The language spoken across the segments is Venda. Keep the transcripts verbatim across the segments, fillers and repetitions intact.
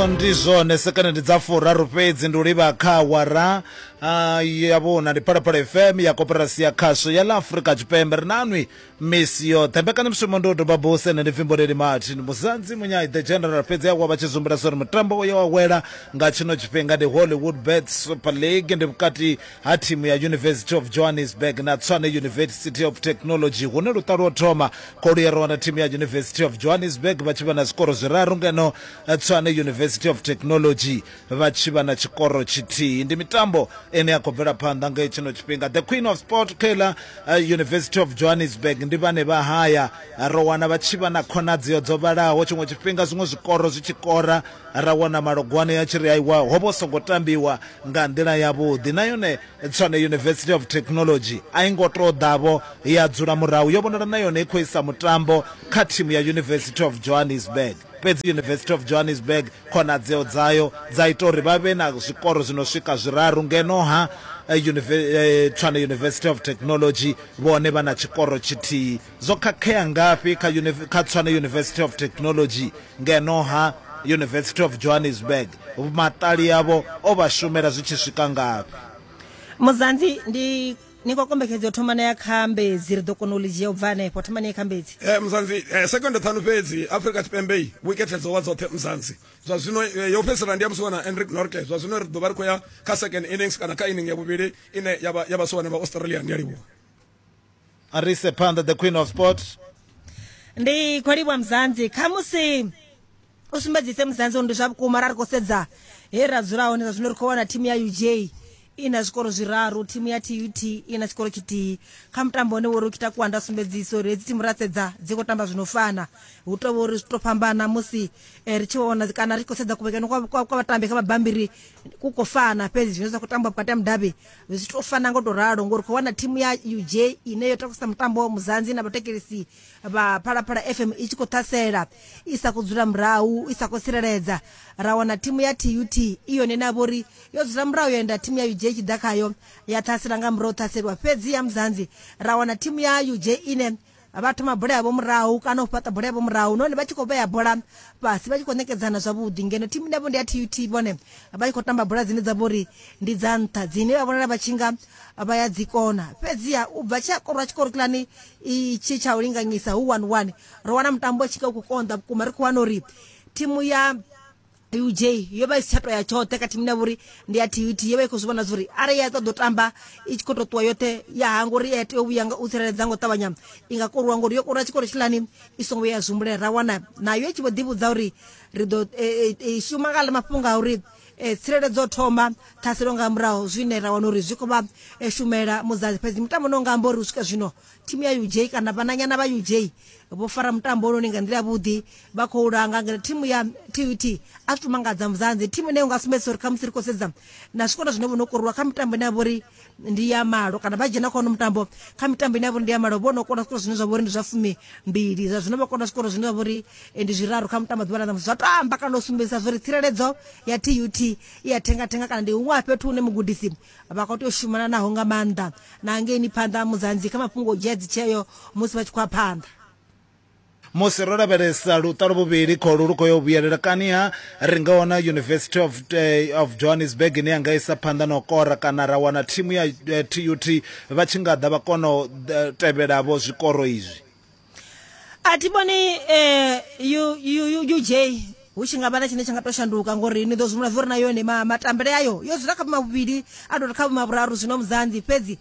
Ndi zwone sekene ndi dza furaru fhedzi ndi u livha kha awara ya vhuna. Ndi Phalaphala F M ya Koporasi ya Khasho ya ḽa Afrika Tshipembe. Ri nanwi misi yoṱhe. Mbekanyamushumo ndi u doba buse, nṋe ndi Pfimboleli Martin Musanzi Munyai the General. Fhedzi awa vha tshi zumbula uri mutambo uyo wa wela nga tshino tshifhinga ndi Hollywood Bet Super League, ndi vhukati ha thimu ya University of Johannesburg na Tshwane University of Technology, hune luṱa lwo thoma kholu ya ro wana thimu ya University of Johannesburg vha tshi vha na zwikoro zwiraru, ngeno Tshwane University of Technology vha tshi vha na tshikoro tshithihi. Ndi mitambo ine ya khou bvela phanḓa nga tshino tshifhinga. The Queen of Sport Kela uh, University of Johannesburg ndi vhane vha haya, ro wana vha tshi vha na khonadzeo dzo vhalaho. Tshiṅwe tshifhinga zwiṅwe zwikoro zwi tshi kora ra wana malogwane ya tshi ri aiwa ho vho songo tambiwa nga nḓila yavhuḓi. Na yone Tshwane University of Technology a i ngo tou ḓavho ya dzula murahu, yo vhonala na yone i khou isa mutambo kha thimu ya University of Johannesburg. Fhedzi University of Johannesburg khonadzeo dzayo dza ita uri vha vhe na zwikoro zwino swika zwiraru, ngeno ha Tshwane University of Technology vhone vha na tshikoro tshithihi. Zwo khakhea ngafhi kha kha Tshwane University of Technology, ngeno ha University of Johannesburg maṱali yavho o vha shumela zwi tshi swika ngafhi? Muzanzi ndi ni khou kombekhedzo thomana ya Khambedzi, ri ḓo kona u ḽi dzhia u bva hanefho. Thomani ya Khambedzi. Eh Muzanzi, eh, sekonde ṱhanu fhedzi Afrika Tshipembe wikethe dzo wa dzoṱhe Muzanzi. Zwa zwino yo fhedzisela ndi ya musiwana Enric Norte. Zwa zwino ri ḓo vha ri khou ya kha second innings kana kha inning ya vhuvhili ine ya vha ya vhasiwana vha Australia. Ndi a livhuwa. Arise phanḓa the Queen of Sport. Ndi khou livhuwa Muzanzi. Khamusi u sumbedzise Muzanzi ndi zwa vhukuma ra ri khou sedza he ra dzula hone zwa zwino ri khou wana thimu ya U J ina zwikoro zwiraru, thimu ya T U T ina tshikoro tshithihi. Kha mutambo one wo ri kita kwanda sumbedzisa uri hedzi thimu ra sedza dzi khou tamba zwino fana, hu tou uri zwi to fhambana musi ri tshi vhona kana ri khou sedza kuvhekano kwa kwa vhatambi kha mabambiri ku khou fana, fhedzi zwine zwa khou tamba vhukati ha mudavhi zwi to fana ngo to ralo, ngori khou wana thimu ya U J ine yo takusa mutambo Muzanzi na vhatekelisi vha Phalaphala F M i tshi khou ṱhasela i sa khou dzula murahu, i sa khou tsireledza. Ra wana thimu ya T U T i yone na vhori yo dzula murahu yo enda thimu ya U J tshi ḓa khayo ya ṱhasela nga murahu ṱhaselwa. Fhedzi ya Muzanzi ra wana thimu ya U J ine vha thoma bola yavho murahu kana u fhaṱa bola yavho murahu, nahone vha tshi khou vhea bola fhasi vha tshi khou ṋekedzana zwavhuḓi, ngeno thimu yavho ndi ya T U T vhone vha tshi khou tamba bola dzine dza vhori ndi dza nṱha dzine vha vhonala vha tshi nga vha ya dzi kona. Fhedziha u bva tshi a korwa tshikoro kilani itshi tsha u linganyisa hu one one, ro wana mutambo tshi nga u khou konḓa vhukuma. Ri khou wana uri thimu ya U J yo vha i si tsha toya tshoṱhe kha thimu ya vhori ndi ya T U T, yo vha i khou zwi vhona zwa uri arali ya ṱoḓa u tamba i tshi khou tou ṱuwa yoṱhe ya hangwa uri ya tea u vhuya nga u tsireledza ngo ṱavhanya i nga koruwa, ngori yo koruwa tshikoro tshilani i songo vhuya ya zwumbulela. Ra wana nayo i tshi vho ḓivhudza uri ri ḓo e, shuma nga mafhungo a uri e, tsireledzo thoma ṱhaselo nga murahu, zwine ra wana uri zwi khou vha shumela Muzanzi. Fhedzi mutambo no nga amba uri u swika zwino thimu ya U J kana vhananyana vha U J vho fara mutambo ononi nga nḓila yavhuḓi, vha khou langa ngeno thimu ya T U T a zwi mangadza Muzanzi. Thimu ine unga sumbedzisa uri khamusi ri khou sedza na zwikoro zwine vho no koruwa kha mitambo ine ya vha uri ndi ya malo, kana vha dzhena kha ono mutambo kha mitambo ine ya vha uri ndi ya malo vho no kona zwikoro zwine zwa vha uri ndi zwa fumi mbili, zwa zwino vha kona zwikoro zwine zwa vha uri ndi zwiraru kha mutambo ḓuvha ḽa ṋamusi. Zwa to amba kana u sumbedzisa zwa uri tsireledzo ya T U T i ya thenga thenga, kana ndi huṅwe ha fhethu hune mugudisi vha khou tea u shumana naho nga maanḓa na ngeini phanḓa Muzanzi kha mafhungo o dzhia dzitsheo musi vha tshi khou ya phanḓa. Musi ro lavhelesa luṱa luvhili kholu lu khou yo vhuyelela kaniha, ri nga wana University of, uh, of Johannesburg ine ya nga isa phanḓa na u kora, kana ra wana thimu ya uh, T U T vha tshi nga ḓa vha kona u uh, tevhelavho zwikoro izwi. A thi vhoni eh, U J hu tshi nga vha na tshine tsha nga to shanduka, ngori ni ḓo zwi uri na yone matambele ayo yo dzula kha vhumavhuvhili a tou ri kha vhumavhuraru zwino Muzanzi. Fhedzi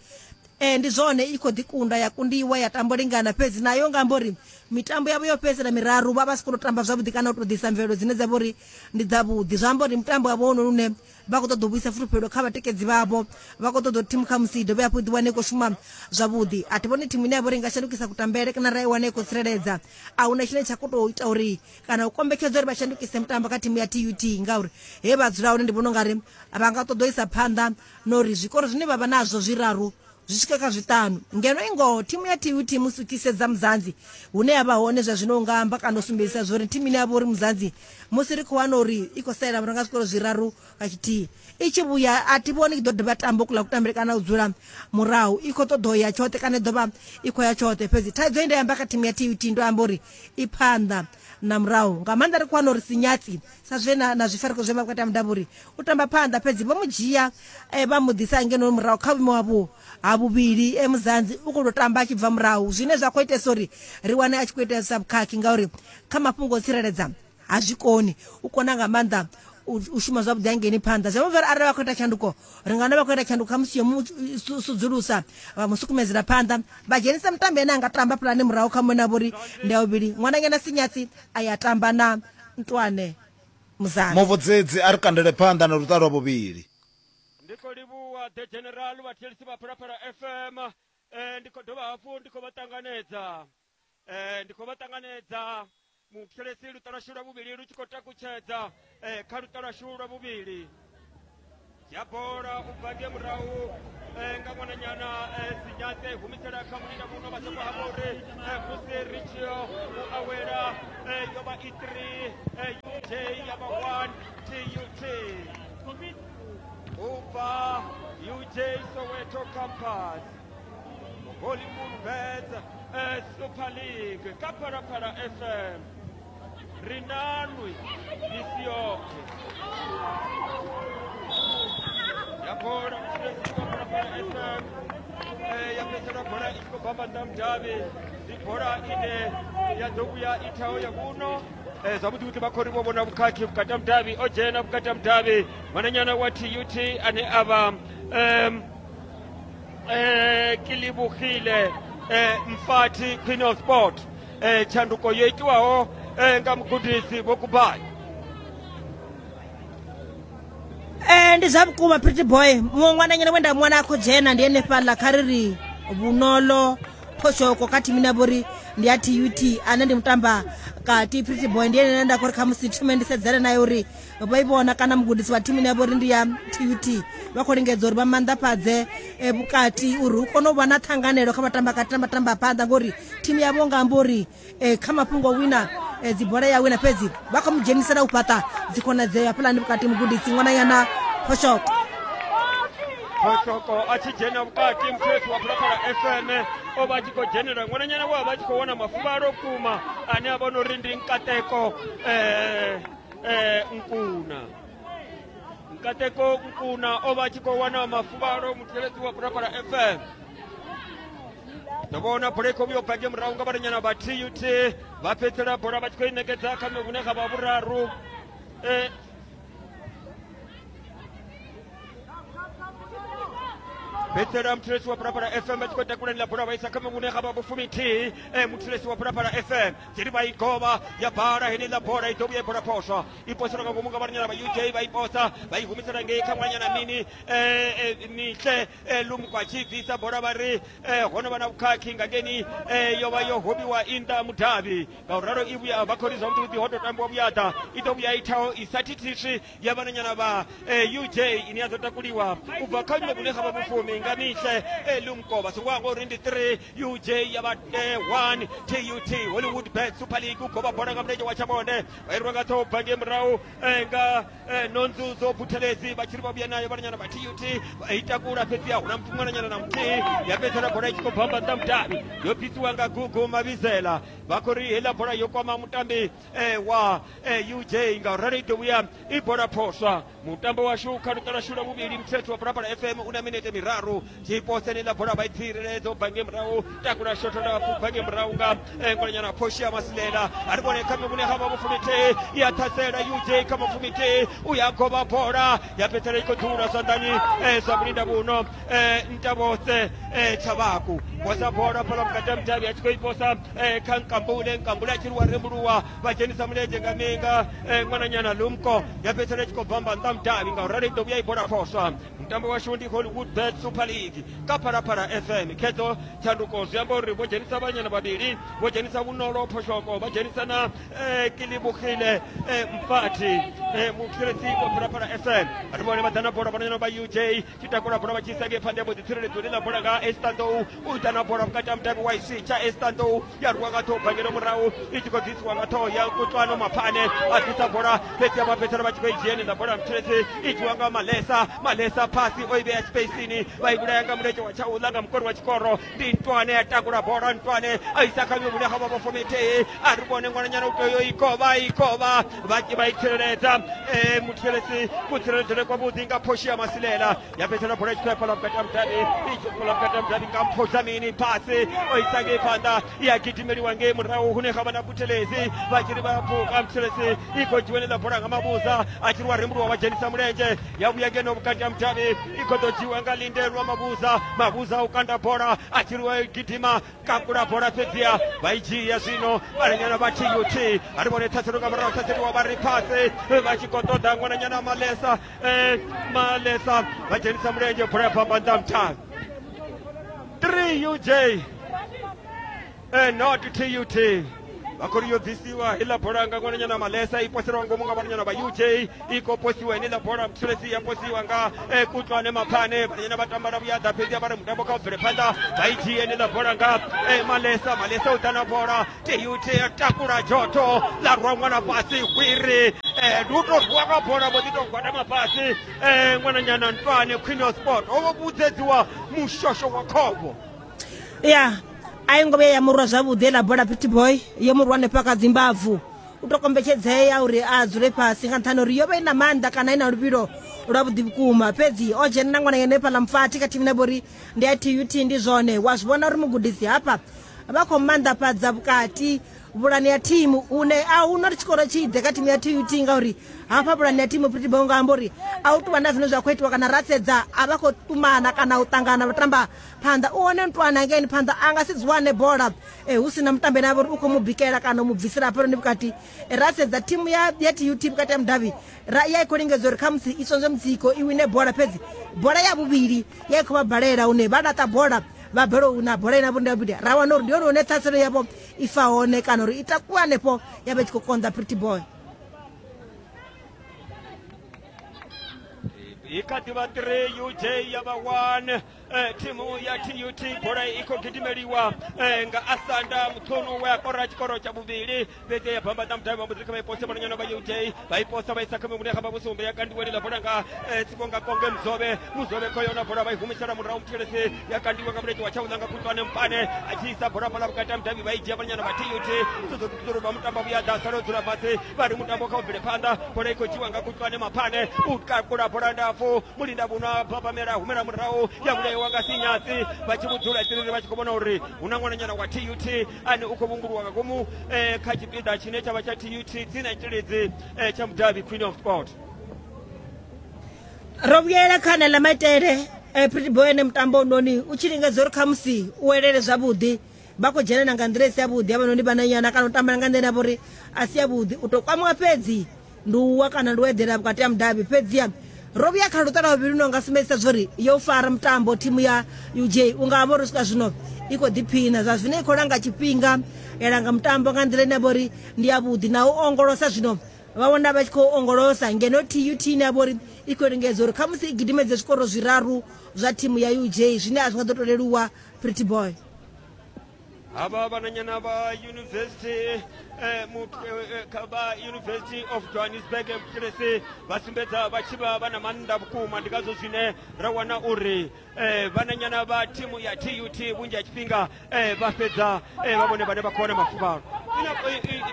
eh, ndi zwone i khou ḓi kunda ya kundiwa ya tambo lingana, fhedzi nayo nga amba uri mitambo yavho yo fhedzisela miraru vha vha si khou tamba zwavhuḓi kana u tou ḓisa mvelelo dzine dza vha uri ndi dzavhuḓi. Zwa amba uri mutambo wavho wono une vha khou ṱoḓa u vhuisa fulufhelo kha vhatikedzi vhavho, vha khou ṱoḓa thimu khamusi i dovhe hafhu i ḓiwane i khou shuma zwavhuḓi. A thi vhoni thimu ine ya vha uri i nga shandukisa kutambele kana ra i wane i khou tsireledza. A huna tshine tsha khou tou ita uri kana u kombetshedza uri vha shandukise mutambo kha thimu ya T U T, ngauri he vha dzula hone ndi vhona ungari vha nga ṱoḓa u isa phanḓa na uri zwikoro zwine vha vha nazwo zwiraru zwi swike kha zwiṱanu. Ngeno i ngoho thimu ya T U T musi u tshi sedza Muzanzi hune ya vha hone zwa zwino unga amba kana u sumbedzisa zwa uri thimu ine ya vha uri Muzanzi musi ri khou wana uri i khou salela murahu nga zwikoro zwiraru kha tshithihi i tshi vhuya a thi vhoni i ḓo dovha tamba kuḽa kutambele kana u dzula murahu, i khou ṱoḓa u ya tshoṱhe kana i ḓo vha i khou ya tshoṱhe. Fhedzi thaidzo ine nda amba kha thimu ya T U T ndo amba uri i phanḓa na murahu nga maanḓa ri khou wana uri Sinyatsi sa zwe na, na zwifariko zwe vha vhukati ha mudavhuri u tamba phanḓa fhedzi vho mu dzhia eh, vha mu ḓisa ngeno murahu kha vhuimo havho ha vhuvhili eh, Muzanzi u khou tou tamba a tshi bva murahu zwine zwa khou itesa uri ri wane a tshi khou itesa vhukhakhi ngauri kha mafhungo o tsireledza ha zwi koni u kona nga maanḓa u shuma zwavhuḓi hangeni phanḓa zwi amba uri arali vha khou ita tshanduko ri nga na vha khou ita tshanduko khamusi yo mu sudzulusa vha mu sukumedzela phanḓa vha dzhenisa mutambi ane a nga tamba pulane murahu kha muṅwe na vhori ndi ya vhuvhili ṅwananyana Sinyatsi a ya tamba na Ntwane Muzanzi. Muvhudzedzi a ri kandele phanḓa na luṱa lwa vhuvhili. Ndi khou livhuwa the general vhathetshelesi vha Phalaphala F M eh, ndi khou dovha hafhu ndi khou vha ṱanganedza eh, ndi khou vha ṱanganedza muthetshelesi luṱa lwashu lwa vhuvhili lu tshi khou takutshedza eh, kha luṱa lwashu lwa vhuvhili ya bola u bva ngei murahu eh, nga ṅwananyana eh, Sinyatse humisela kha mulinda muno vha songo hangwa uri eh, musi ri tshi yo u awela eh, yo vha i three eh, U J ya vha one T U T u bva U J Soweto campus Hollywood Bets eh, Super League ka Phalaphala F M ri nanwi misi yoṱhe ya bola muthetshelesi wa Phalaphala F M eh, ya fhedzisela bola i tshi khou bamba nnḓa mudavhi ndi bola ine ya ḓo vhuya i thaho ya vhuno eh, zwavhuḓi vhuḓi vha khou ri vho vhona vhukhakhi vhukati ha mudavhi o dzhena vhukati ha mudavhi ṅwananyana wa T U T ane a vha um, eh, Kilibugile eh, Mfati Queen of Sport eh, tshanduko yo itiwaho eh, nga mugudisi Vho Kubai. Eh, ndi zwa vhukuma Pretty Boy muṅwe ṅwananyana we nda muwana a khou dzhena ndi henefhaḽa kha ri ri Vhunolo Phoshoko kha thimu ine ya vha uri ndi ya T U T ane ndi mutamba kati Pretty Boy ndi ene ane nda khou ri khamusi thome ndi sedzane naye uri vho i vhona kana mugudisi wa thimu ine ya vha uri ndi ya T U T vha khou lingedza uri vha maanḓafhadze eh, vhukati uri hu kone u vha na ṱhanganelo kha vhatamba kati na vhatamba phanḓa ngori thimu yavho nga amba uri eh, kha mafhungo wina eh, dzibola ya wina fhedzi vha khou mu dzhenisela u fhaṱa dzikhonadzeo hafhaḽani vhukati mugudisi ṅwananyana Phoshoko. Phoshoko a tshi dzhena vhukati muthetshelesi wa Phalaphala F M o vha a tshi khou dzhenela ṅwananyana we a vha a tshi khou wana mafuvhalo vhukuma ane a vha no uri ndi Nkateko eh, eh, Nkuna Nkateko Nkuna o vha a tshi khou wana mafuvhalo muthetshelesi wa Phalaphala F M. Ndo vhona bola i khou vhuya u bva ngei murahu nga vhananyana vha T U T vha fhedzisela bola vha tshi khou i ṋekedza kha hune ga vha vhuraru eh, fhedzisela muthetshelesi wa Phalaphala F M vha tshi khou takulela bola vha isa kha hune ga vha vhufumithihi eh, muthetshelesi wa Phalaphala F M dziri vha i govha ya bala heneiḽa bola i ḓo vhuya i bola phoswa i poselwa nga ngomu nga vhananyana vha U J vha i posa vha i humisela ngei kha ṅwananyana mini eh, eh, Mihle eh, Lumko a tshi bvisa bola vha ri eh, ho no vha na vhukhakhi nga ngeni eh, yo vha yo hobiwa i nnḓa mudavhi ngauralo i vhuya vha khou ri zwavhuḓi vhuḓi ho tou tambiwa vhuyaḓa i ḓo vhuya i thaho i sa thithiswi ya vhananyana vha eh, U J ine ya ḓo takuliwa u bva kha vhuimo vhune ga vha vhufumi nga Mihle eh, Lumko vha songo hangwa uri ndi three U J ya vha eh, one T U T Hollywood Bet Super League u govha bola nga mulenzhe wa tshamonde vha irwa nga ṱhoho bva ngei murahu eh, nga eh, Nonzuzo Buthelezi vha tshi ri vha vhuya nayo vhananyana vha T U T vha i takula fhedzi a huna muthu ṅwananyana na muthihi ya fhedzisela bola i tshi khou bamba nnḓa mudavhi yo bvisiwa nga Gugu Mavhizela vha khou ri heiḽa bola yo kwama mutambi eh, wa eh, U J ngauralo i ḓo vhuya i bola phoswa mutambo washu kha luṱa lwashu lwa vhuvhili muthetho wa Phalaphala F M u na minete miraru tshipose ni ḽa bola vha i tsireledza u bva ngei murahu takula shotho lapfu bva ngei murahu nga eh, ṅwananyana Phoshia Masilela a ri vhone kha vhune ha vha vhufumithihi i a ṱhasela U J kha mafumithihi u ya govha bola ya fhedzisela i khou dzula zwanḓani eh, zwa mulinda vhuno eh, Ntavhose eh, Tshavhaku posa bola fhala vhukati ha mudavhi a tshi khou i posa eh, kha Nkambule Nkambule a tshi ri wa rembuluwa vha dzhenisa mulenzhe nga minga eh, ṅwananyana Lumko ya fhedzisela i tshi khou bamba nnḓa mudavhi ngauralo i ḓo vhuya i bola phoswa mutambo washu ndi Hollywood Bet Super League ka Phalaphala F M khedzo tshanduko zwi amba uri vho dzhenisa vhanyana vhavhili vho dzhenisa Vhunolo Phoshoko vha dzhenisa na eh, Kilibugile eh, Mfati eh, mutsireledzi wa Phalaphala F M ri vhone vha ḓa na bola vhananyana vha U J tshi takula bola vha tshi isa ngei phanḓa ya mbo ḓi tsireledzo ḽi ḽa bola nga Esther Ndou u ita na bola vhukati ha mudavhi wa i switsha Esther Ndou ya rwiwa nga ṱhoho bangelo murahu i tshi khou ḓisiwa nga ṱhoho ya Kutlwano Maphane a ḓisa bola fhedzi vha fhedzisela vha tshi khou i dzhia heneiḽa bola mutsireledzi i dzhiwa nga Malesa Malesa phasi o i vhea spacini vha i vhulaya nga mulenzhe wa tshaula nga mukori wa tshikoro ndi Ntwane ya takula bola Ntwane a isa kha vhune ha vha vha fomethei a ri vhone ṅwananyana u tea yo i kovha i kovha vha vha i tsireledza eh muthelesi kutsireledzele kwavhuḓi nga phoshi ya Masilela ya fhedzisela bola i tshi khou ya fhaḽa vhukati ha mudavhi i tshi fhaḽa vhukati ha mudavhi nga Mpho Dlamini phasi o isa ngei phanḓa ya gidimeliwa ngei murahu hune ha vha na Buthelezi vha tshi ri vha pfuka Muthelesi i khou dzhiwa ḽa bola nga Mabuza a tshi ri wa rembuluwa wa dzhenisa mulenzhe ya vhuya ngeno vhukati ha mudavhi i khou ḓo dzhiwa nga Lindelwa Mabuza Mabuza u kanda bola a tshi ri wa gidima kakula bola fhedziha vha i dzhia zwino vhananyana vha T U T a ri vhone ṱhaselo nga murahu ṱhaseliwa vha ri phasi vha tshi khou ṱoḓa ṅwananyana Malesa eh, Malesa vha dzhenisa mulenzhe bola ya bamba nnḓa muthavhi three U J eh, not T U T vha khou ri yo bvisiwa heiḽa bola nga ṅwananyana Malesa i poselwa ngomu nga vhananyana vha U J i khou posiwa heneiḽa bola Muthelesi ya posiwa nga eh, Kutlwane Maphane vhananyana vha tamba na vhuyaḓa fhedzi vha ri mutambo kha u bvele phanḓa vha i dzhie heneiḽa bola nga eh, Malesa Malesa u ḓa na bola T U T ya takula dzhoto ḽa rwa ṅwana fhasi hwiri eh, ndi u tou rwa nga bola vho ḓi tou gwadama fhasi eh, ṅwananyana Ntwane Queen of Sport ho vho vhudzedziwa mushosho wa khombo ya a i ngo vhuya ya murwa zwavhuḓi ḽa bola Pretty Boy yo murwa hanefha kha dzimbavu u to kombetshedzea uri a dzule fhasi nga nṱhani uri yo vha i na maanḓa kana i na luvhilo lwavhuḓi vhukuma fhedzi o dzhena na ṅwana henefha ḽa mfathi kha thimu ine vhori ndi ya T U T ndi zwone wa zwi vhona uri mugudisi hafha vha khou maanḓafhadza vhukati vhulani ya thimu une a huna uri tshikoro tshi ḓe kha thimu ya T U T ngauri hafha vhulani ya thimu Pretty Boy nga amba uri a u tuvha na zwine zwa khou itiwa kana ra sedza a vha khou ṱumana kana u ṱangana vha tamba phanḓa u hone Ntwana ngeni phanḓa a nga si dzi wane bola eh, hu sina mutambi ane a vha uri u khou mu bikela kana u mu bvisela hafhanoni vhukati. Ra sedza thimu ya, ya T U T vhukati ha mudavhi ra ya i khou lingedza uri khamusi i tsonzwe mutsiko i wine bola fhedzi bola ya vhuvhili ya i khou vha balela hune vha laṱa bola vha balelwa u wina bola ine vho ndi ra wana uri ndi hone hune ṱhaselo yavho i fa hone kana uri i takuwa hanefho ya vha i tshi khou konḓa Pretty Boy. I kha ḓivha three U J ya vha one eh, thimu ya T U T bola i khou gidimeliwa eh, nga Asanda Muthunu we a kora tshikoro tsha vhuvhili fhedzi ya bamba ḓa mudavhi vha mbo ḓi kha vha i pose vhananyana vha U J vha i posa vha isa kha mivhune kha vha vhusumbe ya kandiwa ḽa bola nga eh, Sibonga Konge Muzobe Muzobe kho yona bola vha i humisela murahu Muthelesi ya kandiwa nga mulenzhe wa tshaula nga Kutlwane Mpane a tshi isa bola fhaḽa vhukati ha mudavhi vha i dzhia vhananyana vha T U T Tsotso vha mutambo vhuya ḓa sala o dzula fhasi vha ri mutambo kha u bvele phanḓa bola i khou dzhiwa nga Kutlwane Maphane u kakula bola ndapfu mulinda vhunwa babamela humela murahu ya vhulaiwa nga Sinyatsi vha tshi vhudzula tiriri vha tshi khou vhona uri hu na ṅwananyana wa T U T ane u khou vhunguluwa nga ngomu eh, kha tshipiḓa tshine tsha vha tsha T U T tsina tshilidzi eh, tsha mudavhi Queen of Sport. Ro vhuyela kha haneḽa maitele eh, Pretty Boy ene mutambo noni u tshi lingedza uri khamusi u welele zwavhuḓi vha khou dzhenela nga nḓila i si yavhuḓi havhanoni vhananyana kana u tambela nga nḓila ine ya vha uri a si yavhuḓi u tou kwamiwa fhedzi ndi u wa kana ndi u eḓela vhukati ha mudavhi fhedziha ro vhuya kha luṱa lwa vhuvhili no nga sumbedzisa zwori yo fara mutambo thimu ya U J u nga vha uri swika zwino i khou ḓiphina zwa zwino i khou langa tshifhinga ya langa mutambo nga nḓila ine ya vha uri ndi yavhuḓi na u ongolosa zwino vha vhona vha tshi khou ongolosa ngeno T U T ine ya vha uri i khou lingedza uri khamusi i gidimedze zwikoro zwiraru zwa thimu ya U J zwine a zwi nga ḓo to leluwa Pretty Boy. Havha vhananyana vha University eh, eh, vha University of Johannesburg Muthelesi vha sumbedza vha tshi vha vha na maanḓa vhukuma ndi ngazwo zwine ra wana uri eh, vhananyana vha thimu ya T U T vhunzhi ha tshifhinga eh, vha fhedza eh, vha vhone vhane vha khou wana mafuvhalo.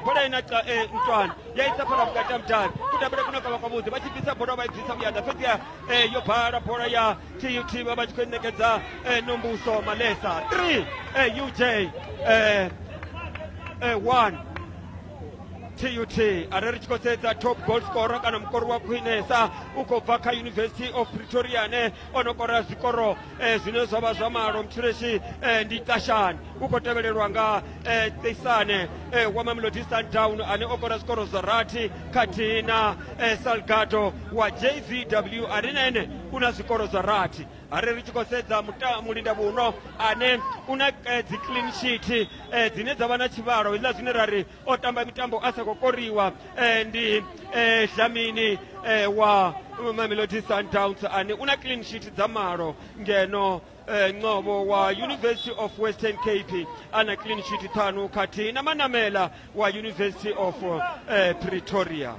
Bola ina eh, Ntwane ya isa fhala vhukati ha mudavhi kutambele kuno kavha kwavhuḓi vha tshi bvisa bola vha i bvisa vhuyaḓa fhedziha eh, yo bala bola ya T U T vha vha tshi khou ṋekedza eh, Nombuso Malesa three eh, U J eh, eh, one T U T. Arali ri tshi khou sedza top goal scorer kana mukori wa khwinesa u khou bva kha University of Pretoria ane o no kora zwikoro eh, zwine zwa vha zwa malo Muthelesi eh, ndi Tashani u khou tevhelelwa nga eh, Tisane eh, wa Mamelodi Sundowns ane o kora zwikoro zwa rathi khathihi na eh, Salgado wa J V W ane na ene u na zwikoro zwa rathi. Arali ri tshi khou sedza mulinda vhuno ane u na eh, dzi clean sheet eh, dzine dza vha na tshivhalo hezwiḽa zwine ra ri o tamba mitambo a sa khou koriwa eh, ndi eh, Dlamini eh, wa Mamelodi Sundowns ane u na clean sheet dza malo ngeno eh, Ngcobo wa University of Western Cape ana clean sheet ṱhanu khathihi na Manamela wa University of eh, Pretoria.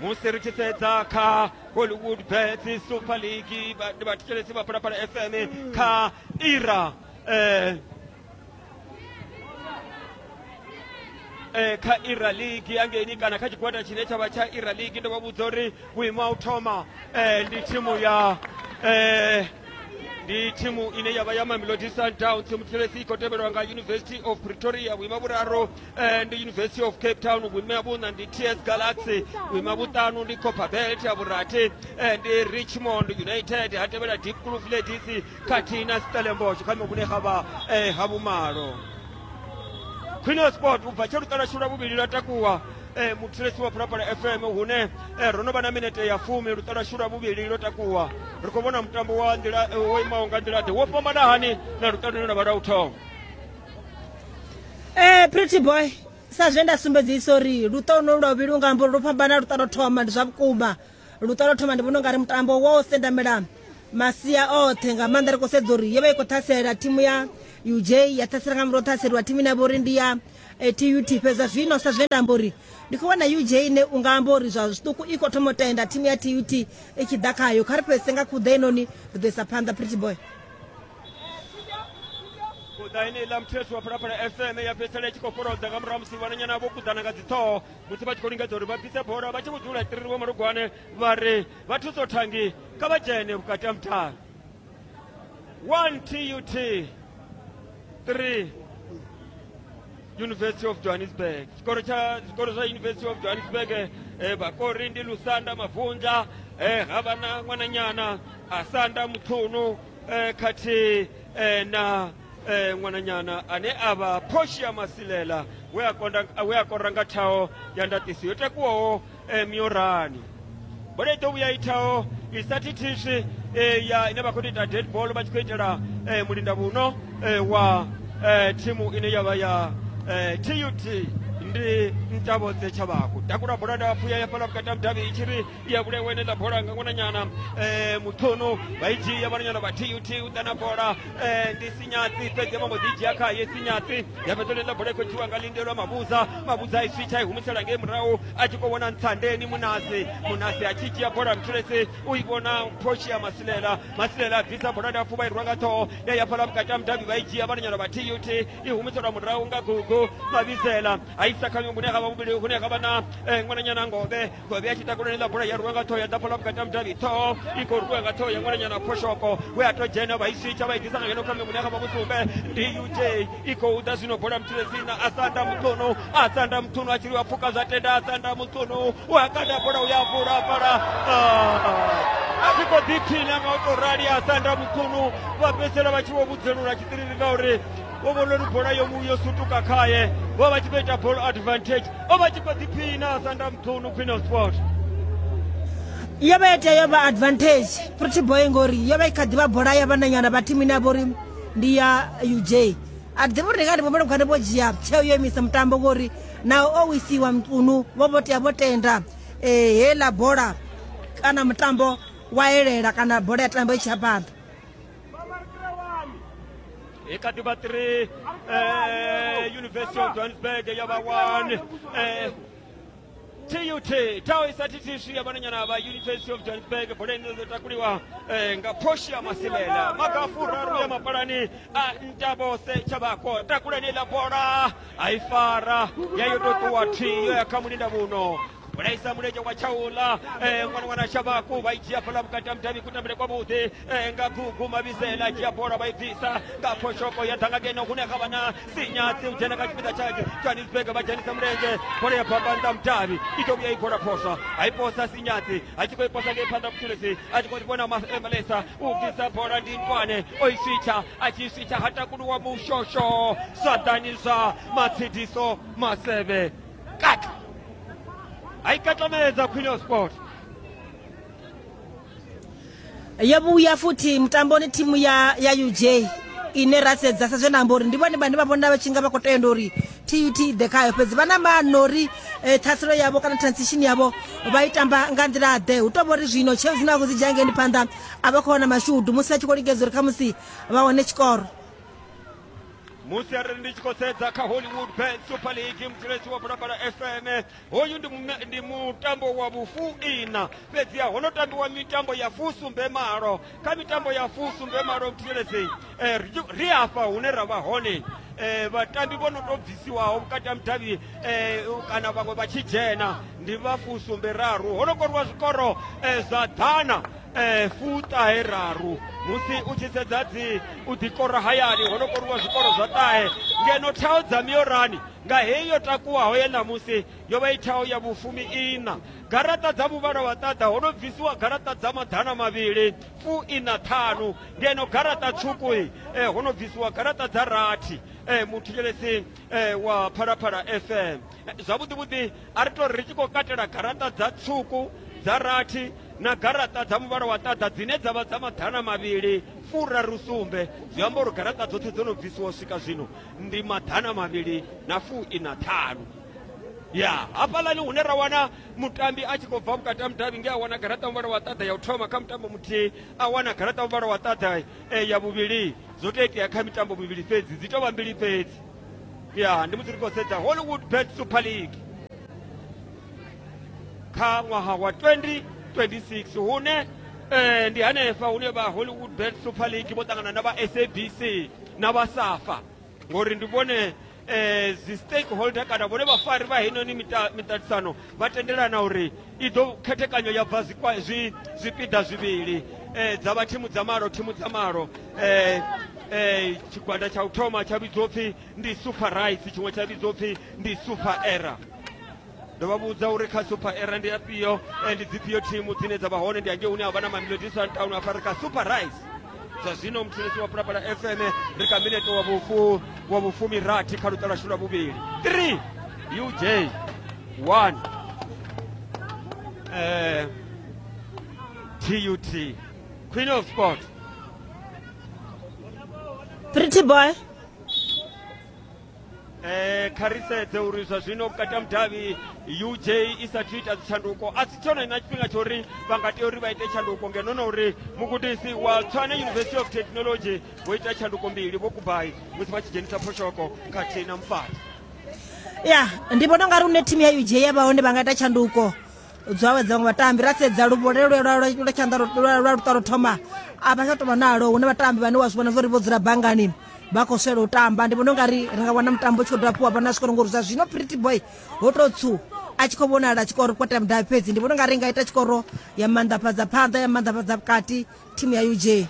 Musi ri tshi sedza kha Hollywood Bets Super League ndi vhathetshelesi vha Phalaphala F M kha ira eh eh kha ira league yangeini kana kha tshigwada tshine tsha vha tsha ira league ndo vha vhudza uri vhuimo ha u thoma eh ndi thimu ya eh ndi thimu ine ya vha ya Mamelodi Sundowns. Muthelesi i khou tevhelwa nga University of Pretoria, vhuima vhuraru eh, ndi University of Cape Town, vhuima vhuṋa ndi T S Galaxy, vhuima vhuṱanu ndi Copperbelt, ya vhurathi eh, ndi Richmond United, ha tevhela Deep Kloof Ladies khathihi na Stellenbosch kha muvhune ha vha eh, ha vhumalo. Queen of Sport u bva tsha luṱa lwashu lwa vhuvhili lwa takuwa eh, muthelesi wa Phalaphala F M hune eh, ro no vha na minete ya fumi luṱa lwashu lwa vhuvhili lwo takuwa. Ri khou vhona mutambo wa nḓila wo imaho nga nḓila ḓe, wo fhambana hani na luṱa lune lwa vha lwa u thoma? Eh, pretty boy, sa zwe nda sumbedzisa uri luṱa luno lwa vhuvhili unga amba uri lwo fhambana luṱa lwo thoma, ndi zwa vhukuma. Luṱa lwo thoma ndi vhona ungari mutambo wo sendamela masia oṱhe nga maanḓa, ri khou sedza uri yo vha i khou ṱhasela thimu ya U J, ya ṱhasela nga murahu ṱhaseliwa thimu ine ya vha uri ndi ya T U T. Fhedza zwino sa zwe nda amba uri ndi khou vhona U J ine unga amba uri zwa zwiṱuku i khou thoma u tenda thimu ya T U T i tshi ḓa khayo. Kha ri fhedzise nga khuḓa inoni ri ḓo isa phanḓa, pretty boy. Khuḓa ine iḽa muthelesi wa Phalaphala F M ya fhedzisela i tshi khou fholodza nga murahu musi vhananyana vho kuḓana nga dziṱhoho musi vha tshi khou lingedza uri vha bvise bola, vha tshi vho dzula tiriri vho Malugwane vha ri vha thuso thangi kha vha dzhene vhukati ha mutalo. One T U T, three University of Johannesburg. Tshikolo tsha zwikolo zwa University of Johannesburg eh, vhakori ndi Lusanda Mavunza, eh, ha vha na ṅwananyana Asanda Muthunu eh, khathihi eh, na eh, ṅwananyana ane a vha Portia Masilela we a konda we a kora nga thaho ya ndaṱiso yo takuwaho eh, miorani. Bola i ḓo vhuya i thaho i sa thithiswi eh, ya ine vha khou ita dead ball vha tshi khou itela eh, mulinda vhuno eh, wa eh, thimu ine ya vha ya eh, T U T ndi Ntabodze Tshavhaku. Takula bola ndapfu ya fhala vhukati ha mudavhi i tshi ri ya vhulewe ine ḽa bola nga ṅwananyana eh, Muthunu vha i dzhia vhananyana vha T U T u ḓa na bola eh, ndi Sinyatsi, fhedzi vha mbo ḓi dzhia khaye Sinyatsi ya fhedza ḽa bola i khou dzhiwa nga Lindelwa Mavhuza. Mavhuza a i switsha i humisela ngei murahu a tshi khou vhona Ntsandeni Munasi. Munasi a tshi dzhia bola Mthulesi u i vhona Portia Masilela. Masilela a bvisa bola ndapfu vha i rwa nga ṱhoho ya ya fhala vhukati ha mudavhi vha i dzhia vhananyana vha T U T i humiselwa murahu nga Gugu Mavhizela a isa kha hune ha vha vhuvhili hune ha vha na ṅwananyana Ngobe. Ngobe a tshi takula ḽa bola ya rwa nga ṱhoho ya ḓa fhala vhukati ha mudavhi, ṱhoho i khou rwiwa nga ṱhoho ya ṅwananyana Phoshoko we a to dzhena vha i switsha vha i ḓisa nga ngeno kha hune ha vha vhusumbe ndi U J i khou ḓa zwino bola Mthulesi na Asanda Muthunu. Asanda Muthunu a tshi ri wa pfuka zwa tenda, Asanda Muthunu u a kanda bola u ya vula fhala a tshi khou ḓiphina nga u tou rali. Asanda Muthunu vha fhedzisela vha tshi vho vhudzelula tshiṱiriri ngauri vho vhona uri bola yo yo sutuka khaye, vho vha tshi khou ita ball advantage, o vha tshi khou ḓiphina Asanda Muthunu. Queen of Sport yo vha tea yo vha advantage pretty boy ngori yo vha i kha ḓivha bola ya vhananyana vha thimu ine ya vha uri ndi ya U J. A ḓivha uri ndi nga ndi vhomele khane vho dzhia tsheo yo imisa mutambo ngori naho o wisiwa Mutunu vho vho tea vho tenda eh heiḽa bola kana mutambo wa elela kana bola ya tamba i tshi ya phanḓa. I kha ḓi vha three eh, University of Johannesburg ya vha one eh, T U T thaho i sa thithiswi ya vhananyana vha University of Johannesburg. Bola ine ḓo takuliwa eh, nga Portia Masilela. Maga furaru ya mapalani a Ntabose Tshavhako. Takula ine ḽa bola a i fara ya yo tou ṱuwa thi yo ya kha mulinda vhuno. Bola isa mulenzhe wa tshaula eh, ṅwana ṅwana Tshavhaku vha i dzhia fhala vhukati ha mudavhi kutambele kwavhuḓi eh, nga Gugu Mavhizela dzhia bola vha i bvisa nga Phoshoko ya ḓa nga ngeno hune ha vha na Sinyatsi u dzhena kha tshipiḓa tsha Johannesburg vha dzhenisa mulenzhe bola ya bamba nnḓa mudavhi i ḓo vhuya i bola phoswa a i posa Sinyatsi a tshi khou i posa ngei phanḓa Mthulesi a tshi khou vhona Malesa u bvisa bola ndi Ntwane o i switsha a tshi switsha ha takuluwa Mushosho zwanḓani zwa Matsidiso Maseve kata a i katlamedza Queen of Sport. Yo vhuya futhi mutamboni thimu ya ya U J ine ra sedza sa zwe nda amba uri ndi vhone vhane vha vhona vha tshi nga vha khou tenda uri T U T ḓe khayo, fhedzi vha na maano uri eh, ṱhaselo yavho kana transition yavho vha i tamba nga nḓila ḓe. Hu tou vha uri zwino tsheo dzine vha khou dzi dzhia ngeni phanḓa a vha khou wana mashudu musi vha tshi khou lingedza uri khamusi vha wane tshikoro. Musi arali ndi tshi khou sedza kha Hollywood Bet Super League muthelesi wa Phalaphala F M, hoyu ndi ndi mutambo wa vhufuiṋa, fhedziha ho no tambiwa mitambo ya fusumbe malo. Kha mitambo ya fusumbe malo muthelesi, eh, ri afha hune ra vha hone eh, vhatambi vho no tou bvisiwaho vhukati ha mudavhi eh, kana vhaṅwe vha tshi dzhena ndi vha fusumbe raru. Ho no koriwa zwikoro eh, zwa ḓana eh, fuṱahe raru. Musi u tshi sedza dzi u ḓikora hayani ho no koriwa zwikoro zwa ṱahe, ngeno thao dza miorani nga heyi yo takuwaho ya ṋamusi yo vha i thao ya vhufumi iṋa. Garaṱa dza muvhala wa ṱaḓa ho no bvisiwa garaṱa dza maḓana mavhili fu iṋa ṱhanu, ngeno garaṱa tswuku eh, ho no bvisiwa garaṱa dza rathi. Eh, muthetshelesi eh, wa Phalaphala F M, eh, zwavhuḓi vhuḓi a ri to ri tshi khou katela garaṱa dza tswuku dza rathi na garaṱa dza muvhala wa ṱaḓa dzine dza vha dza maḓana mavhili furaru sumbe, zwi amba uri garaṱa dzoṱhe dzo no bvisiwa u swika zwino ndi maḓana mavhili na fu ina ṱhanu. Ya hafhaḽani hune ra wana mutambi a tshi khou bva vhukati ha mudavhi nge a wana garaṱa muvhala wa ṱaḓa ya u thoma kha mutambo muthihi, a wana garaṱa muvhala wa ṱaḓa e, ya vhuvhili. Zwo tou itea kha mitambo mivhili fhedzi, dzi tou vha mbili fhedzi. Ya ndi musi ri khou sedza Hollywood Bet Super League kha ṅwaha wa twenty twenty-six, hune eh, ndi hanefha hune vha Hollywood Bet Super League vho ṱangana na vha S A B C na vha SAFA, ngori ndi vhone eh, dzi stakeholder kana vhone vhafari vha heinoni miṱaṱisano vha tendelana uri i ḓo khethekanyo ya bva zwi zwipiḓa zwivhili, eh, dza vha thimu dza malo thimu dza malo. eh, eh, tshigwada tsha u thoma tsha vhidzwa upfhi ndi Super Rights, tshiṅwe tsha vhidzwa upfhi ndi Super Era. Ndo vha vhudza uri kha Super Era ndi afhio, ndi dzifhio thimu dzine dza vha hone, ndi angei hune ha vha na Mamelodi Sundowns afha ri kha Super Rights. Zwa zwino muthelesi wa Phalaphala F M ri kha minete wa vhufu wa vhufumi rathi kha luṱa lwashu lwa vhuvhili. three U J one eh, T U T Queen of Sport. Pretty boy. Eh, kha ri sedze uri zwa zwino vhukati ha mudavhi U J i sathu ita dzitshanduko, a si tshone na tshifhinga tsha uri vha nga tea uri vha ite tshanduko, ngeno na uri mugudisi wa Tshwane University of Technology vho ita tshanduko mbili vho Kubai musi vha tshi dzhenisa Phoshoko khathihi na Mfati. Ya ndi vhona ungari une thimu ya U J ya vha hone vha nga ita tshanduko dzo awedza vhaṅwe vhatambi. Ra sedza luvhole lwa lwa tshanḓa lwa luṱa lwo thoma a vha tsha tou vha nalo, hune vhatambi vhane wa zwi vhona uri vho dzula bangani vha khou swela u tamba. Ndi vhona ungari ri nga wana mutambo u tshi khou dovha hafhu wa vha na zwikoro, ngori zwa zwino Pretty Boy ho tou tswu a tshi khou vhonala tshikoro kwata mudavhi fhedzi. Ndi vhona ungari nga ita tshikoro ya maanḓafhadza phanḓa ya maanḓafhadza vhukati thimu ya U J.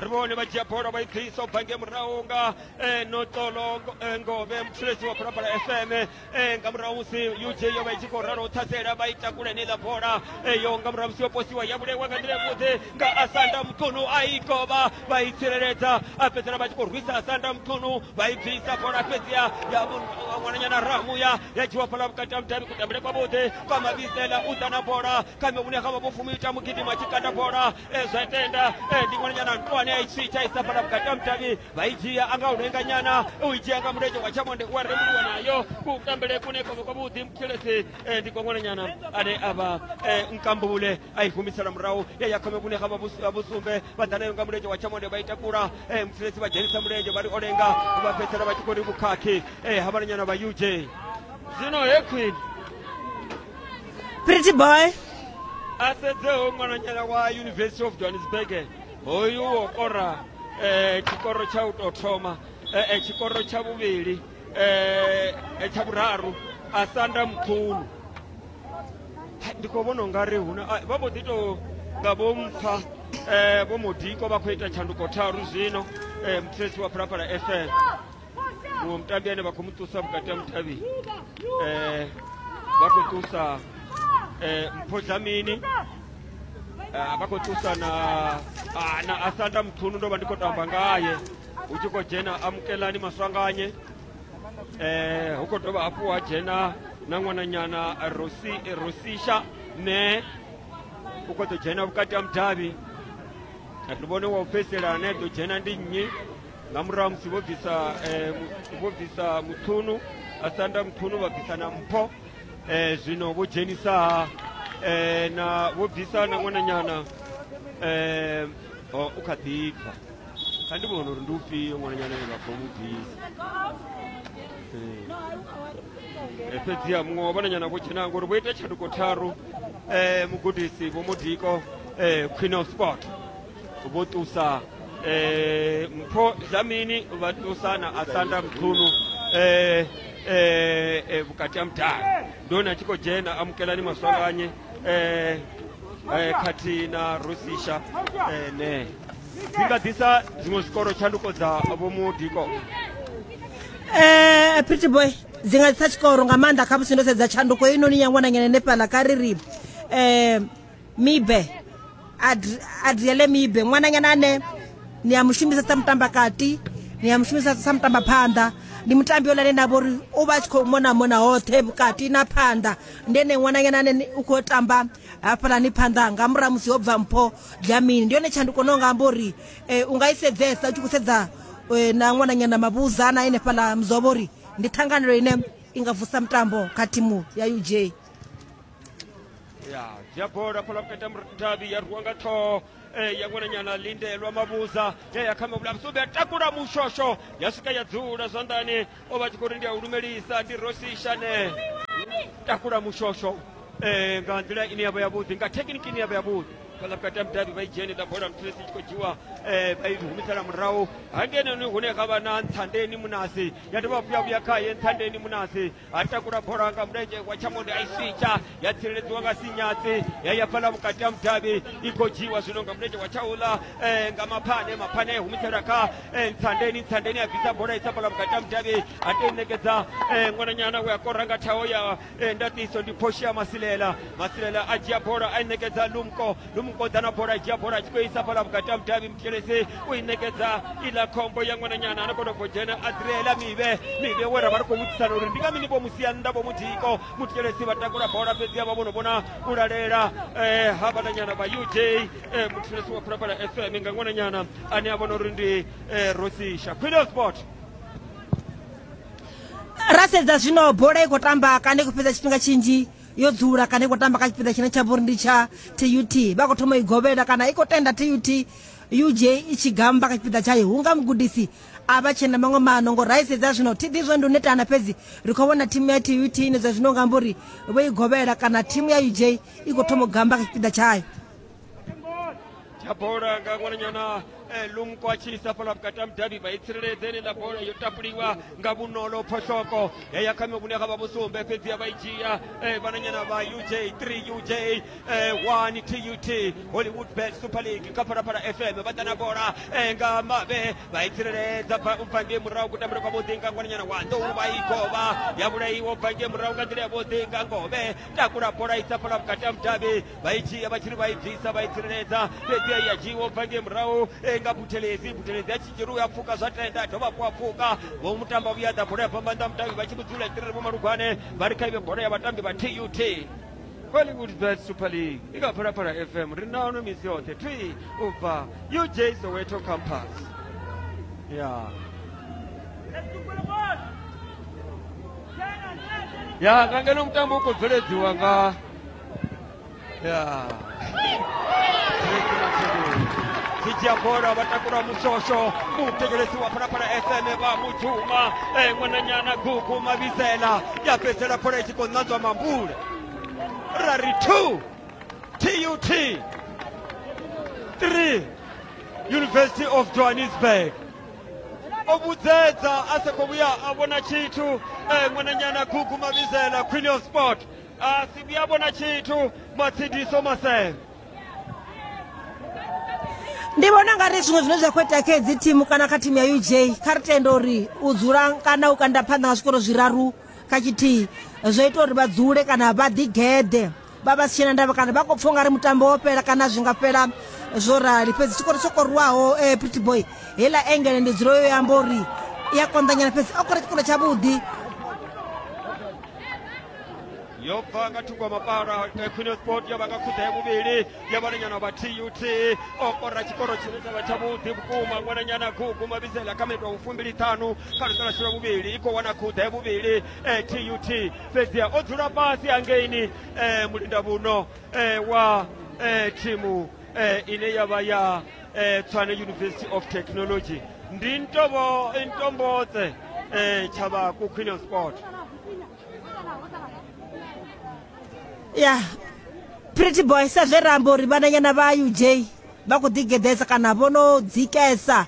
Ri vhone vha dzhia bola vha i bvisa u bva ngei murahu nga eh, Notolo Ngove muthelesi wa Phalaphala F M, eh, nga murahu musi U J yo vha i tshi khou ralo u ṱhasela vha i takula heneiḽa bola eh, yo nga murahu musi yo posiwa ya vhulewa nga nḓila yavhuḓi nga Asanda Mthunu, a i kovha vha i tsireledza, a fhedzisela vha tshi khou rwisa Asanda Mthunu vha i bvisa bola fhedziha ya ṅwananyana Ramuya ya dzhiwa fhaḽa vhukati ha mudavhi. Kutambele kwavhuḓi kwa Mavhisela u ḓa na bola kha vhune ha vha vhufumi ita mugidima tshi kanda bola eh, zwa tenda eh, ndi ṅwananyana Ntwane a i tswitsha isa fhaḽa vhukati ha mudavhi vha i dzhia anga u lenganyana u i dzhia nga mulenzhe wa tshamonde u a rembuluwa nayo kutambele kune kwavha kwavhuḓi muthelesi eh, ndi kwa ṅwananyana ane a vha eh, Nkambule a i humisela murahu ya ya khome vhune ha vha vhusumbe vha ḓa nayo nga mulenzhe wa tshamonde vha i takula eh, muthelesi vha dzhenisa mulenzhe vha ri o lenga vha fhedzisela vha tshi khou ri vhukhakhi eh, ha vhananyana vha U J. Zwino he Queen Pretty Boy a sedzeho ṅwananyana wa University of Johannesburg hoyu wo kora eh, tshikoro tsha u tou thoma eh, tshikoro tsha vhuvhili eh, tsha vhuraru Asanda Mthunu. Ndi khou vhona ungari huna vha mbo ḓi tou nga vho mpha eh, vho Modiko vha khou ita tshanduko tharu zwino eh, muthelesi wa Phalaphala F M. Muṅwe mutambi ane vha khou mu ṱusa vhukati ha mudavhi eh, vha khou ṱusa eh, Mpho Dlamini, eh, vha khou ṱusa na, ah, na Asanda Mthunu, ndo vha ndi khou tamba ngaye hu tshi khou dzhena Amukelani Maswanganye, eh, hu khou dovha hafhu ha dzhena na ṅwananyana Rosi, Rosisha ne u khou ḓo dzhena vhukati ha mudavhi. Ri vhone wa u fhedzisela ane a ḓo dzhena ndi nnyi nga murahu musi vho bvisa eh, vho bvisa Mthunu Asanda Mthunu vha bvisa na Mpho eh, zwino vho dzhenisa eh, na vho bvisa na ṅwananyana eh, u kha ḓi bva. Kha ndi vhona uri ndi ufhio ṅwananyana ane vha khou mu bvisa. Eh fhedziha muṅwe wa vhananyana vho dzhena ngori vho ita tshanduko tharu eh mugudisi Vho Modiko eh Queen of Sport vho ṱusa eh Mpho Dlamini vha ṱusa na Asanda Mchunu eh eh vhukati ha mudavhi. Ndi hone a tshi khou dzhena Amukelani Maswanganye eh eh khathihi na Rosisha eh ne dzi nga ḓisa dziṅwe zwikoro tshanduko dza Vho Modiko. Eh pretty boy dzi nga ḓisa tshikoro nga maanḓa kha musi ndo sedza tshanduko heinoni ya ṅwananyana hanefhaḽa kha ri ri eh Mibe Adriele Mibe ṅwananyana ane ni a mushumisa sa mutambakati, ni a mushumisa sa mutamba phanḓa. Ndi mutambi ola ane nda vha uri u vha a tshi khou mona mona hoṱhe vhukati na phanḓa. Ndi ene ṅwananyana ane u khou tamba hafhaḽani phanḓa nga murahu musi ho bva Mpho Dlamini. Ndi yone tshanduko no nga amba uri u nga i sedzesa u tshi khou sedza na ṅwananyana Mavhuza na henefhaḽa Mzobo uri ndi ṱhanganelo ine i nga vusa mutambo kha thimu ya U J. Ya dzhia bola fhala vhukati ha mudavhi ya rwiwa nga ṱhoho ya ṅwananyana Lindelwa Mavhuza ya ya kha mavhula vhusumbe ya takula mushosho ya swika ya dzula zwanḓani. O vha tshi khou ri ndi a u lumelisa ndi Rosisha ne takula mushosho eh nga nḓila ine ya vha yavhuḓi, nga thekhiniki ine ya vha yavhuḓi. Fhaḽa vhukati ha mudavhi vha i dzhene ḽa bola muthelesi tshi khou dzhiwa eh vha i humisela murahu hangenoni hune ha vha na Ntshandeni Munasi ya dovha hafhu ya vhuya khaye Ntshandeni Munasi a takula bola nga mulenzhe wa tshamonde a i switsha ya tsireledziwa nga Sinyatsi ya ya fhaḽa vhukati ha mudavhi i khou dzhiwa zwino nga mulenzhe wa tshaula eh nga Maphane. Maphane a humisela kha eh Ntshandeni. Ntshandeni a bvisa bola isa fhaḽa vhukati ha mudavhi a tou ṋekedza eh ṅwananyana we a kora nga thaho ya eh ndaṱiso ndi Portia Masilela. Masilela a dzhia bola a i ṋekedza Lumko. Lumko ḓa na bola a dzhia bola a tshi khou isa fhaḽa vhukati ha mudavhi muthelesi u i ṋekedza iḽa khombo ya ṅwananyana a kona u dzhena Adriela Mibe. Mibe we ra vha ri khou vhudzisana uri ndi nga mini vho musia nnḓa Vho Modiko. Muthelesi vha takula bola fhedzi vha vhono vhona u lalela eh ha vhananyana vha U J eh muthelesi wa Phalaphala F M nga ṅwananyana ane a vhona uri ndi eh Rosisha. Queen of Sport. Ra sedza zwino bola i khou tamba kana i khou fhedza tshifhinga tshinzhi yo dzula kana i khou tamba kha tshipiḓa tshine tsha vha uri ndi tsha T U T. Vha khou thoma i govhela kana i khou tenda T U T U J i tshi gamba kha tshipiḓa tshayo hunga mugudisi a vha tshena maṅwe maano. Ngo ra i sedza zwino thi ḓivhi zwa ndi u netana, fhedzi ri khou vhona thimu ya T U T ine zwa zwino nga amba uri vho i govhela kana thimu ya U J i khou thoma u gamba kha tshipiḓa tshayo. Tsha bola nga ṅwananyana eh, Lumko a tshi isa fhaḽa vhukati ha mudavhi vha i tsireledze heneiḽa bola yo tapuliwa nga vhunolo phoshoko ya ya kha vhune ha vha vhusumbe fhedzi ya vha i dzhia eh, vhananyana vha U J three U J eh, one T U T Hollywood Bet Super League kha Phalaphala F M vha ḓa na bola eh, nga mavhe vha i tsireledza u bva ngei murahu kutambele kwavhuḓi nga ṅwananyana wa Nḓou vha i govha ya vhulaiwa u bva ngei murahu nga nḓila yavhuḓi nga Ngove takula bola isa fhaḽa vhukati ha mudavhi vha i dzhia vha tshi ri vha i bvisa vha i tsireledza fhedzi ya dzhiiwa u bva ngei murahu nga Buthelezi. Buthelezi a tshi dzhia u a pfuka zwa tenda a dovha hafhu a pfuka vho mutamba vhuya ḓa bola ya fhamba nnḓa mudavhi vha tshi vhudzula tiriri Vho Malugwane vha ri kha ive bola ya vhatambi vha T U T. Hollywood Bet Super League i kha Phalaphala F M ri nano misi yoṱhe thwi u bva U J Soweto campus ya ya nga ngeno mutambo u khou bveledziwa nga ya tshi dzhia bola vha takula mushosho muthetshelesi wa Phalaphala F M vha mutshuma ṅwananyana Gugu Mavhisela ya fhedzisela bola i tshi khou ṋanzwa mambule ra ri two T U T three University of Johannesburg. O vhudzedza a sa khou vhuya a vhona tshithu ṅwananyana Gugu Mavhisela Queen of Sport a si vhuya vhona tshithu Matshidiso Masele. Ndi vhona nga ri zwiṅwe zwine zwa khou itea kha hedzi thimu kana kha thimu ya U J kha ri tende uri u dzula kana u kanda phanḓa nga zwikoro zwiraru kha tshithihi zwo ita uri vha dzule kana vha ḓigeḓe vha vha si tshena ndavha kana vha khou pfha ungari mutambo wo fhela kana zwi nga fhela zwo rali. Fhedzi tshikoro tsho korwaho eh, Pretty Boy heiḽa engele ndi dzulo yo amba uri i a konḓanyana, fhedzi o kora tshikoro tshavhuḓi. Yo bva nga thungo ya mapala Queen of Sport ya vha nga khuḓa ya vhuvhili ya vhananyana vha T U T o kora tshikoro tshine tsha vha tshavhuḓi vhukuma ṅwananyana Gugu Mavhisela kha minete wa fumbili ṱhanu kha luṱa lwashu lwa vhuvhili i khou wana khuḓa ya vhuvhili T U T fhedziha o dzula fhasi hangeini mulinda vhuno wa thimu ine ya vha ya eh, Tshwane University of Technology. Ndi Ntobo Ntombotse eh, Chabaku Queen of Sport. Ya Pretty Boy sa zwe ra amba uri vhananyana vha U J vha khou ḓigedesa kana vho no dzikesa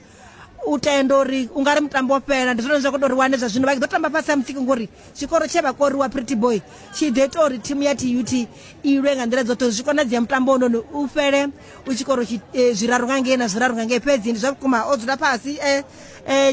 u tenda uri u nga ri mutambo wo fhela. Ndi zwone zwa khou tou ri wane zwa zwino vha ḓo tamba fhasi ha mutsiko ngori tshikoro tshe vha koriwa Pretty Boy tshi ḓo ita uri thimu ya T U T i lwe nga nḓila dzoṱhe zwi konadzea mutambo ononi u fhele u tshikoro zwiraru nga ngei na zwiraru nga ngei. Fhedzi ndi zwa vhukuma o dzula fhasi eh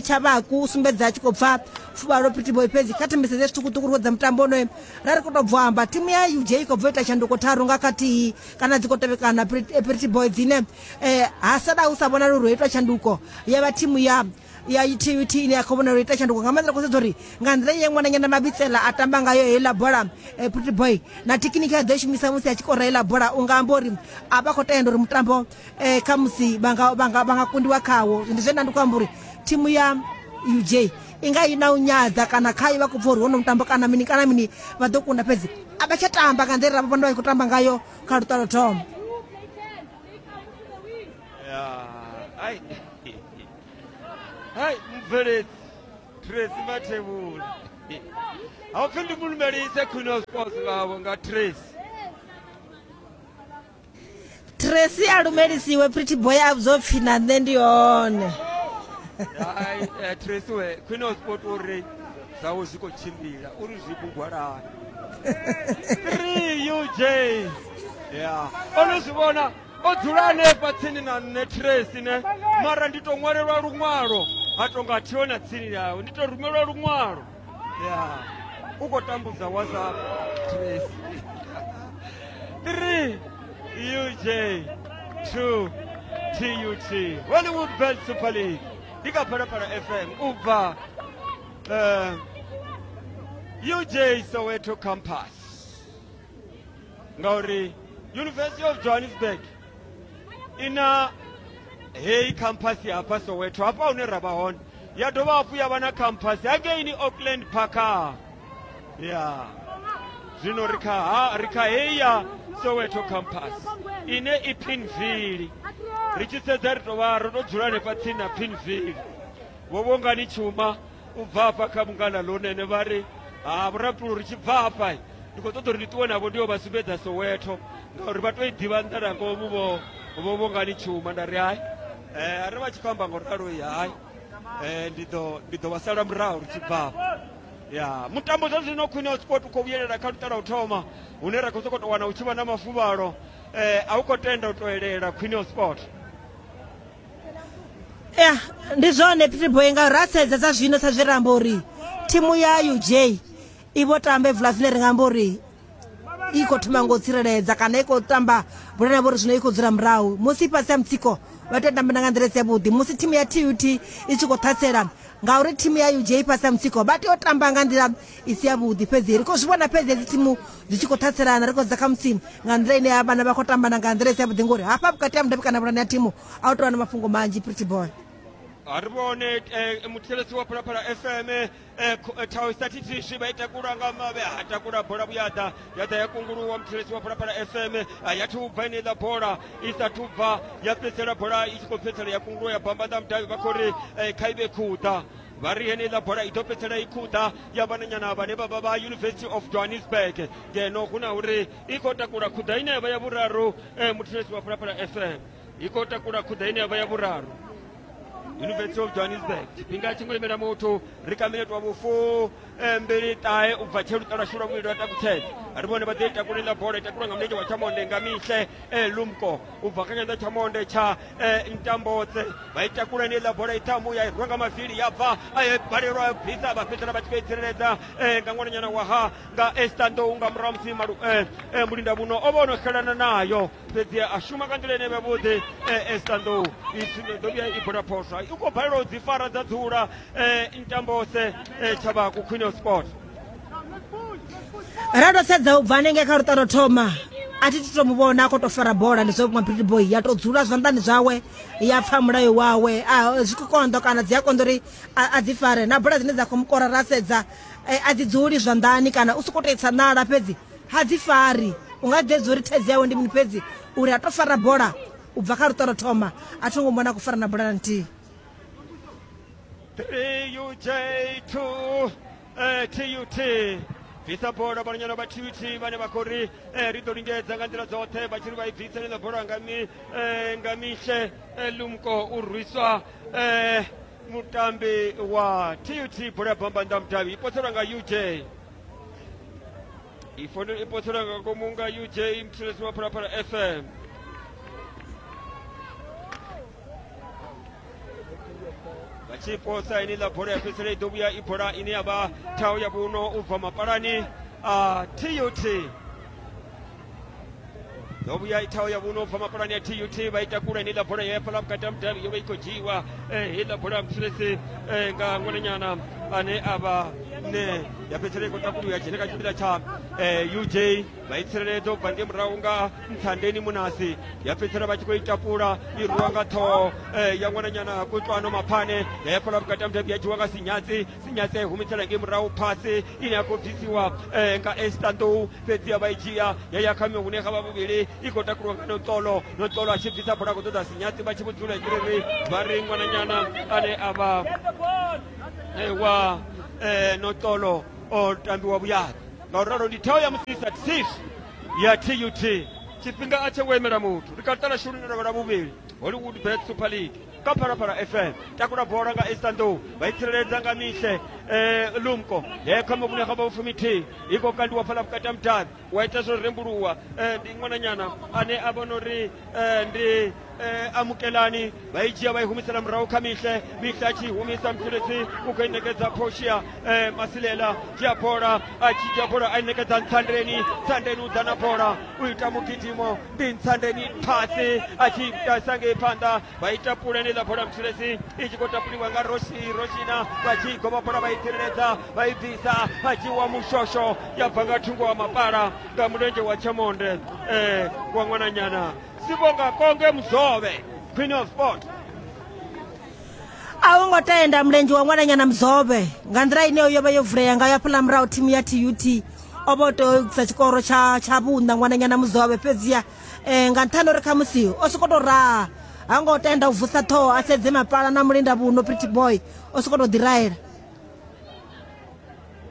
Tshabaku u sumbedza a tshi khou pfa fuvhalo Pretty Boy. Fhedzi kha thembise zwiṱukuṱuku ri dza mutambo onoyo ra ri khou tou bva amba thimu ya U J i khou bva ita tshanduko tharu nga khathihi kana dzi khou tevhekana Pretty Boy dzine eh ha sala hu sa vhonala uri ho itwa tshanduko ya vha thimu ya ya T U T ine ya khou vhonala uri ita tshanduko nga maanḓa. Khou sedza uri nga nḓila ye ṅwananyana Mabitsela a tamba ngayo heiḽa bola Pretty Boy na thekhiniki a ḓo shumisa musi a tshi kora heiḽa bola u nga amba uri a vha khou tenda uri mutambo eh khamusi vha nga vha nga vha nga kundiwa khawo. Ndi zwine nda ndi khou amba uri thimu ya U J i nga i na u nyadza kana khayo vha khou pfa uri hono mutambo kana mini kana mini vha ḓo kunda, fhedzi a vha tsha tamba nga nḓila ra vha vhona vha khou tamba ngayo kha luṱa lwo thoma. Ai hai mubveledzi Tracy Mathebula ha upfi ndi mulumelise Queen of Sports ngavho nga Tracy. Tracy a lumelisiwe Pretty Boy a vhudzwa pfhi na nṋe ndi hone. Hai eh, Tracy we Queen of Sport uri zwawe zwi khou tshimbila uri zwi bugwalani three U J ya ono zwi vhona o dzula hanefha tsini na nṋe Tracy ne mara ndi to ṅwalelwa luṅwalo ha tonga thiho na tsini yawe ndi to rumelwa luṅwalo ya u khou tambudza WhatsApp Tracy. Three U J two T U T Hollywood Belt Super League ndi kha Phalaphala F M u bva uh, U J Soweto campus ngauri University of Johannesburg ina heyi campus ya hafha Soweto hafha hune ra vha hone, ya dovha hafhu ya vha na campus hangeini Auckland Park. Ya zwino ri kha ri kha heyi ya Soweto campus ine i Pinville. Ri tshi sedza ri tovha ro to dzula hanefha tsini na Pinville. Vho Vhongani Tshuma u bva hafha kha Mungana Lonene vha ri ha vhurapulu ri tshi bva hafha ndi khou ṱoḓa uri ndi ṱuwe navho ndi yo vha sumbedza Soweto ngauri vha to i ḓivha nḓala ngomu vho vho Vhongani Tshuma. Nda ri hai eh a ri vha tshi khou amba ngo ralo hai eh ndi ḓo ndi ḓo vha sala murahu ri tshi bva hafha. Ya mutambo zwa zwino Queen of Sport u khou vhuyelela kha luṱa lwa u thoma hune ra khou sokou tou wana hu tshi vha na mafuvhalo eh a u khou tenda u toelela Queen of Sport. Ya ndi zwone Pretty Boy ngauri ra sedza dza zwino sa zwe ra amba uri thimu ya U J i vho tamba vula zwine ri nga amba uri i khou thoma ngo tsireledza kana i khou tamba bola na vhori zwino i khou dzula murahu musi fhasi ha mutsiko vha tea u tamba nga nḓila i si yavhuḓi. Musi thimu ya T U T i tshi khou ṱhasela ngauri thimu ya U J fhasi ha mutsiko vha tea u tamba nga nḓila i si yavhuḓi. Fhedzi ri khou zwi vhona fhedzi hedzi thimu dzi tshi khou ṱhaselana ri khou dza khamusi nga nḓila ine ya vhana vha khou tambana nga nḓila i si yavhuḓi ngori hafha vhukati ha mudavhi kana vhulani ya thimu a u tou vha na mafhungo manzhi. Pretty Boy a ri vhone muthetshelesi wa Phalaphala F M thausatitishi vha i takula nga mavhe ha takula bola vhuyaḓa ya ḓa ya kunguluwa muthetshelesi wa Phalaphala F M ya thi u bva ineiḽa bola i sathu bva ya fhedzisela bola i tshi khou fhedzisela ya kunguluwa ya bamba ḽa mudavhi vha khou ri kha i vhe khuḓa vha ri heneiḽa bola i ḓo fhedzisela i khuḓa ya vhananyana vhane vha vha vha University of Johannesburg ngeno hu na uri i khou takula khuḓa ine ya vha ya vhuraru muthetshelesi wa Phalaphala F M i khou takula khuḓa ine ya vha ya vhuraru University of Johannesburg. Tshifhinga tshi ngo imela muthu ri kha minete wa vhufu mbili ṱahe u bva tshe luṱa lwashu lwa vhuvhili lwa takutshedza. Ri vhone vha ḓo i takula iḽa bola i takulwa nga mulenzhe wa tshamonde nga Mihle Lumko u bva kha tshanḓa tshamonde tsha Ntambotse vha i takula heneiḽa bola i ṱhamu ya i rwa nga mavili ya bva ya balelwa ya bvisa vha fhedzisela vha tshi khou i tsireledza nga ṅwananyana wa ha nga Esther Ndou nga murahu musi mulinda vhuno o vha o no xelana nayo fhedzi a shuma nga nḓila ine yavhuḓi. Esther Ndou i ḓo vhuya i bola phoswa i khou balelwa u dzi fara dza dzula Ntambose Tshabaku Queen of Sport. Ra tou sedza u bva hanengei kha luṱa lwo thoma a thi to mu vhona a khou tou fara bola ndi zwa vhukuma Pretty Boy ya tou dzula zwanḓani zwawe ya pfa mulayo wawe a zwi khou konḓa kana dzi a konḓa uri a dzi fare na bola dzine dza khou mukora ra sedza a dzi dzuli zwanḓani kana u sokou tou isa ṋala fhedzi ha dzi fari u nga ḓedza uri thaidzo yawe ndi mini fhedzi uri a to fara bola U bva kha luṱo thoma a tho ngo mona ku fara na bola na nthihi. three U J two eh, T U T bvisa bola vhananyana vha T U T vhane vha khou ri eh, ri ḓo lingedza nga nḓila dzoṱhe vha tshi ri vha i bvisa ḽiḽa bola nga mi eh, nga mihle eh, Lumko u rwiswa eh, mutambi wa T U T bola ya bamba nnḓa mudavhi i poselwa nga U J i fono i poselwa nga ngomu nga U J mthulesi wa Phalaphala F M. Vha tshi posa ine ḽa bola ya fhedzisela i ḓo vhuya i bola ine ya vha thaho ya vhuno u bva mapalani a T U T. Ḓo vhuya i thaho ya vhuno u bva mapalani a T U T vha i takula ine ḽa bola ya fhala vhukati ha mudavhi yo vha i khou dzhiiwa heiḽa bola ya mthulesi nga ṅwananyana ane a vha ne ya fhedzisela i khou takuliwa ya dzhena kha tshipiḓa tsha U J vha i tsireledza u bva ngei murahu nga Nthandeni Munasi ya fhedzisela vha tshi khou i tapula i rwiwa nga ṱhoho ya ṅwananyana Kutwano Maphane ya ya fhala vhukati ha mudavhi ya dzhiwa nga Sinyatsi Sinyatsi ya i humisela ngei murahu phasi ine ya khou bvisiwa nga Esther Ndou fhedzi ya vha i dzhia ya ya kha hune kha vha vhuvhili i khou takuliwa nga Noxolo Noxolo a tshi bvisa bola khou ṱoḓa Sinyatsi vha tshi vho dzula ri vha ri ṅwananyana ane a vha wa Noxolo o tambiwa vhuyani. Ngauralo ndi thao ya musisa six ya T U T tshifhinga a tshe ngo imela muthu ri kha ṱala shuluni ḽa vha vhuvhili Hollywood Bet Super League kha Phalaphala F M takula bola nga Esther Ndou vha i tsireledza nga mihle eh, Lumko ye kha muvhune kha vhafumithihi i khou kandiwa fhala vhukati ha mudavhi wa ita zwo rembuluwa eh, ndi ṅwananyana ane a vhona uri eh, ndi eh, amukelani vha i dzhia vha i humisela murahu kha mihle mihle a tshi humisa mthulesi u khou i ṋekedza Portia eh, Masilela dzhia bola a tshi dzhia bola a i ṋekedza Ntsandeni Ntsandeni u ḓa na bola u ita mugidimo ndi Ntsandeni phasi a tshi ita ngei phanḓa vha ita pulane ḽa bola mthulesi i tshi khou tapuliwa nga Roshi Roshina vha tshi goba bola vha i tsireledza vha i bvisa vha dzhiwa mushosho ya bva nga thungo wa mapala nga mulenzhe wa tshamonde eh, wa ṅwananyana Sibonga Konge Mzobe Queen of Sport. A wo ngo tenda mulenzhe wa ṅwananyana Mzobe nga nḓila ine yo vha yo vulea ngayo hafhaḽa murahu thimu ya T U T o vha o tea u isa tshikoro tsha tsha vhuṋa ṅwananyana Mzobe fhedziha eh, nga nṱhani uri khamusi o sokou tou raha ha ngo tenda u vusa ṱhoho a sedze mapala na mulinda vhuno Pretty Boy o sokou tou ḓiraela.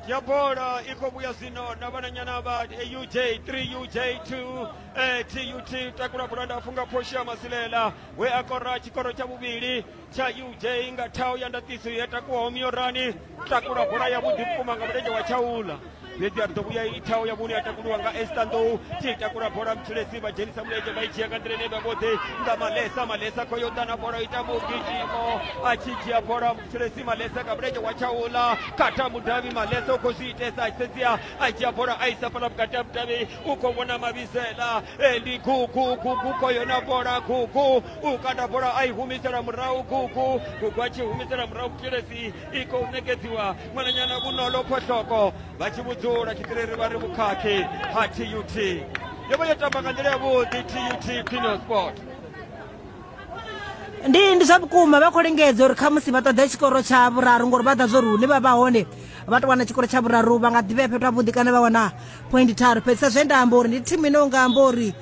Ya bola i khou vhuya zwino na vhananyana vha U J three U J two eh, T U T takula bola ndapfu nga Portia Masilela we a kora tshikoro tsha vhuvhili tsha U J nga thao ya ndaṱiso ya takuwaho miorani takula bola ya vhuḓi vhukuma nga mulenzhe wa tshaula fhedzi a ri ḓo vhuya i thao ya vhune ya takuliwa nga Esther Ndou tshi takula bola mthulesi vha dzhenisa mulenzhe vha i dzhia nga nḓila ine vha vhoḓi nga Malesa Malesa khou yo ḓa na bola ita mugidimo a tshi dzhia bola mthulesi Malesa nga mulenzhe wa tshaula khatha mudavhi Malesa u khou zwi itesa a sedzia a dzhia bola a isa fhala vhukati ha mudavhi u khou vhona mavhisela ndi gugu gugu khoyo na bola gugu u kanda bola a i humisela murahu gugu gugu a tshi humisela murahu mthulesi i khou ṋekedziwa ṅwananyana Vhunolo Phohloko vha tshi vhudzula tshiṱiriri vha ri vhukhakhi ha T U T yo vha yo tamba nga nḓila yavhuḓi T U T Queen of Sport. Ndi ndi zwa vhukuma vha khou lingedza uri khamusi vha ṱoḓe tshikoro tsha vhuraru ngori vha ḓa zwo uri hune vha vha hone vha to wana tshikoro tsha vhuraru vha nga ḓivhea fhethu havhuḓi kana vha wana point tharu fhedzi sa zwe nda amba uri ndi thimu ine unga amba uri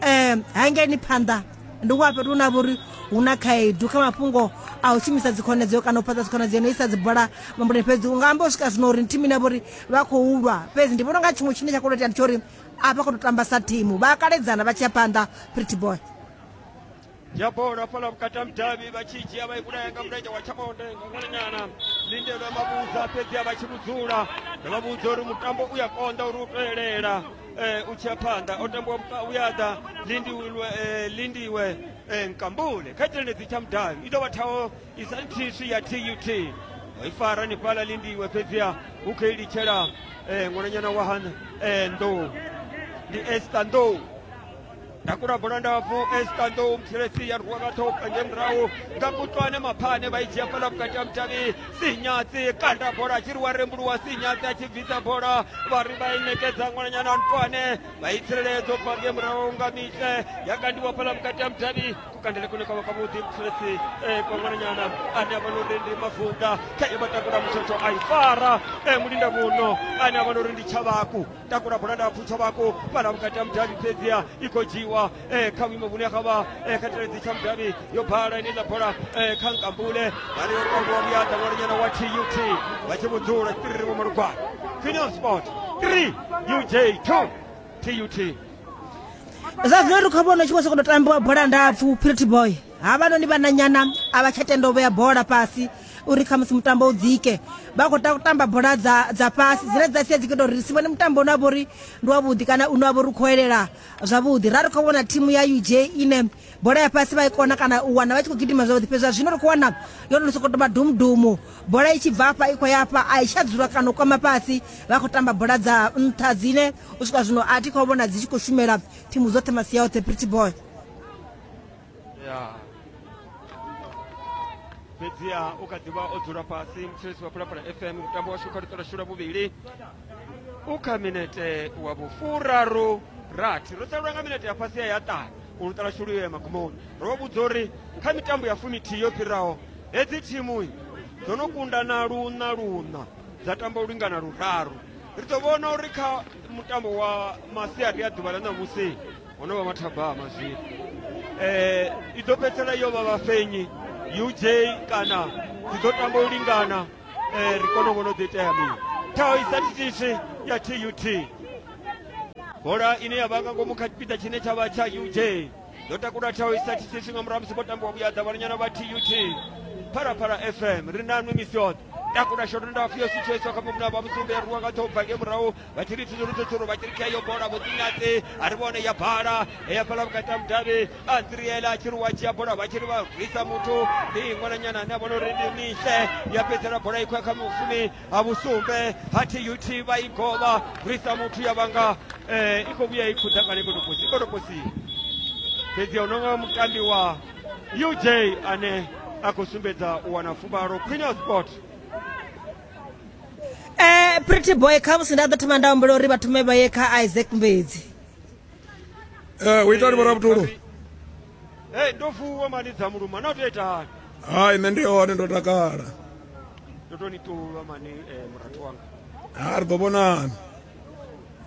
um hangeini phanḓa ndi wa fhethu hune ha vha uri hu na khaedu kha mafhungo a u shumisa dzikhonadzeo kana u fhaṱa dzikhonadzeo no isa dzibola mambuleni fhedzi unga amba u swika zwino uri ndi thimu ine ya vha uri vha khou lwa fhedzi ndi vhona unga tshiṅwe tshine tsha khou itea ndi tsha uri a vha khou tou tamba sa thimu vha kaledzana vha tshi ya phanḓa Pretty Boy. Ya bola fhala vhukati ha mudavhi vha tshi dzhia vha i vhulaya nga mulenzhe wa tshamonde nga ṅwananyana Lindelwa Mavhudza fhedzi a vha tshi vhudzula vha vhudza uri mutambo u ya konḓa uri u toelela eh, u tshi ya phanḓa o tambiwa vhuyaḓa Lindiwe eh, Lindiwe eh, Nkambule kha tshiendedzi tsha mudavhi i ḓo vha thaho i sa nthiswi ya T U T o i fara ni fhala Lindiwe fhedziha u khou i litshela eh, ṅwananyana wa ha eh, Ndou ndi Esther Ndou takula bola ndapfu Esther Ndou mthulesi ya rwiwa nga ṱhoho nge murahu nga Kutwane Maphane vha i dzhia fhala vhukati ha mudavhi Sinyatsi kanda bola a tshi ri wa rembuluwa Sinyatsi a tshi bvisa bola vha ri vha i ṋekedza ṅwananyana Ntwane vha i tsireledza u bva nge murahu nga mihle ya kandiwa fhala vhukati ha mudavhi kukandele kune kwavha kwavhuḓi mthulesi eh, kwa ṅwananyana ane a vha na uri ndi Mavunda khaye vha takula mutshotsho a i fara eh, mulinda vhuno ane a vha na uri ndi Tshavhaku takula bola ndapfu Tshavhaku fhala vhukati ha mudavhi fhedziha i khou dzhiiwa vha kha vhuimo vhune ha vha kha tshiledzi tsha mudavhi yo bala ine ḽa bola kha Nkambule vha ri yo tambiwa vhuyaḓa ṅwananyana wa T U T vha tshi vhudzula tshitiriri vho Malugwana. Queen Sport three U J two T U T. Zwa zwino ri khou vhona tshi vho sokou tambiwa bola ndapfu Pretty Boy. Havhanoni vhananyana a vha tsha tenda u vhea bola fhasi uri khamusi mutambo u dzike, vha khou tamba bola dza dza fhasi dzine dza sia dzi khou ita uri si vhone mutambo une wa vha uri ndi wavhuḓi kana une wa vha uri u khou elela zwavhuḓi. Ra ri khou vhona thimu ya U J ine bola ya fhasi vha i kona kana u wana vha tshi khou gidima zwavhuḓi, fhedzi zwa zwino ri khou wana yo no sokou tou dumdumu, bola i tshi bva afha i khou ya afha a i tsha dzula kana u kwama fhasi, vha khou tamba bola dza nṱha dzine u swika zwino a thi khou vhona dzi tshi khou shumela thimu dzoṱhe masia oṱhe. Pretty Boy. Yeah. Fhedziha u kha ḓivha o dzula fhasi muthetshelesi wa Phalaphala F M mutambo washu kha luṱo lwashu lwa vhuvhili u kha minete wa vhufuraru rathi ro salelwa nga minete ya fhasi ya ṱahe u luṱa lwashu lu ye magumoni. Ro vha vhudza uri kha mitambo ya fumithihi yo fhiraho hedzi thimu dzo no kunda na luṋa luṋa dza tamba u lingana luraru. Ri ḓo vhona uri kha mutambo wa masiari ya ḓuvha ḽa ṋamusi ho no vha mathabama zwino eh i ḓo fhedzisela yo vha vhafenyi U J kana dzi ḓo tamba u lingana eh ri kone u vhona u ḓo itea mini. Thaho i sa thithisi ya T U T, bola ine ya vha nga ngomu kha tshipiḓa tshine tsha vha tsha U J ḓo takula thaho i sa thithisi nga murahu musi vho tambiwa vhuyaḓa vhananyana vha T U T. Phalaphala F M ri na nwi misi yoṱhe. Takula shoto ndapfu yo sitshoiswa kha muvhuna vha vhusumbe ya rwiwa nga ṱhoho bva ngei murahu vha tshi ri tsuru vha tshi ri kha iyo bola vho ḓinyatsi a ri vhone ya bala ya fhala vhukati ha mudavhi a nziriela a tshi ri wa dzhia bola vha tshi ri vha rwisa muthu ndi ṅwananyana ane a vhona uri ndi mihle ya fhedzisela bola i khou ya kha mufumi ha vhusumbe ha T U T vha i govha rwisa muthu ya vhanga i khou vhuya i khuḓa kana i khou tou posi i khou tou posiwa. Fhedzi hu no nga mutambi wa U J ane a khou sumbedza u wana fuvhalo. Queen of Sport. Eh Pretty Boy khamusi nda ḓo thoma nda humbela uri vha thome vha ye kha Isaac Mbedzi. Eh u ita uri vhorabutulu. Eh ndo fuwa mani dza muluma na u tou ita hani? Hai nṋe ndi hone ndo takala. Ndo to ni ṱuvha mani eh murathu wanga. Ha ri ḓo vhonana.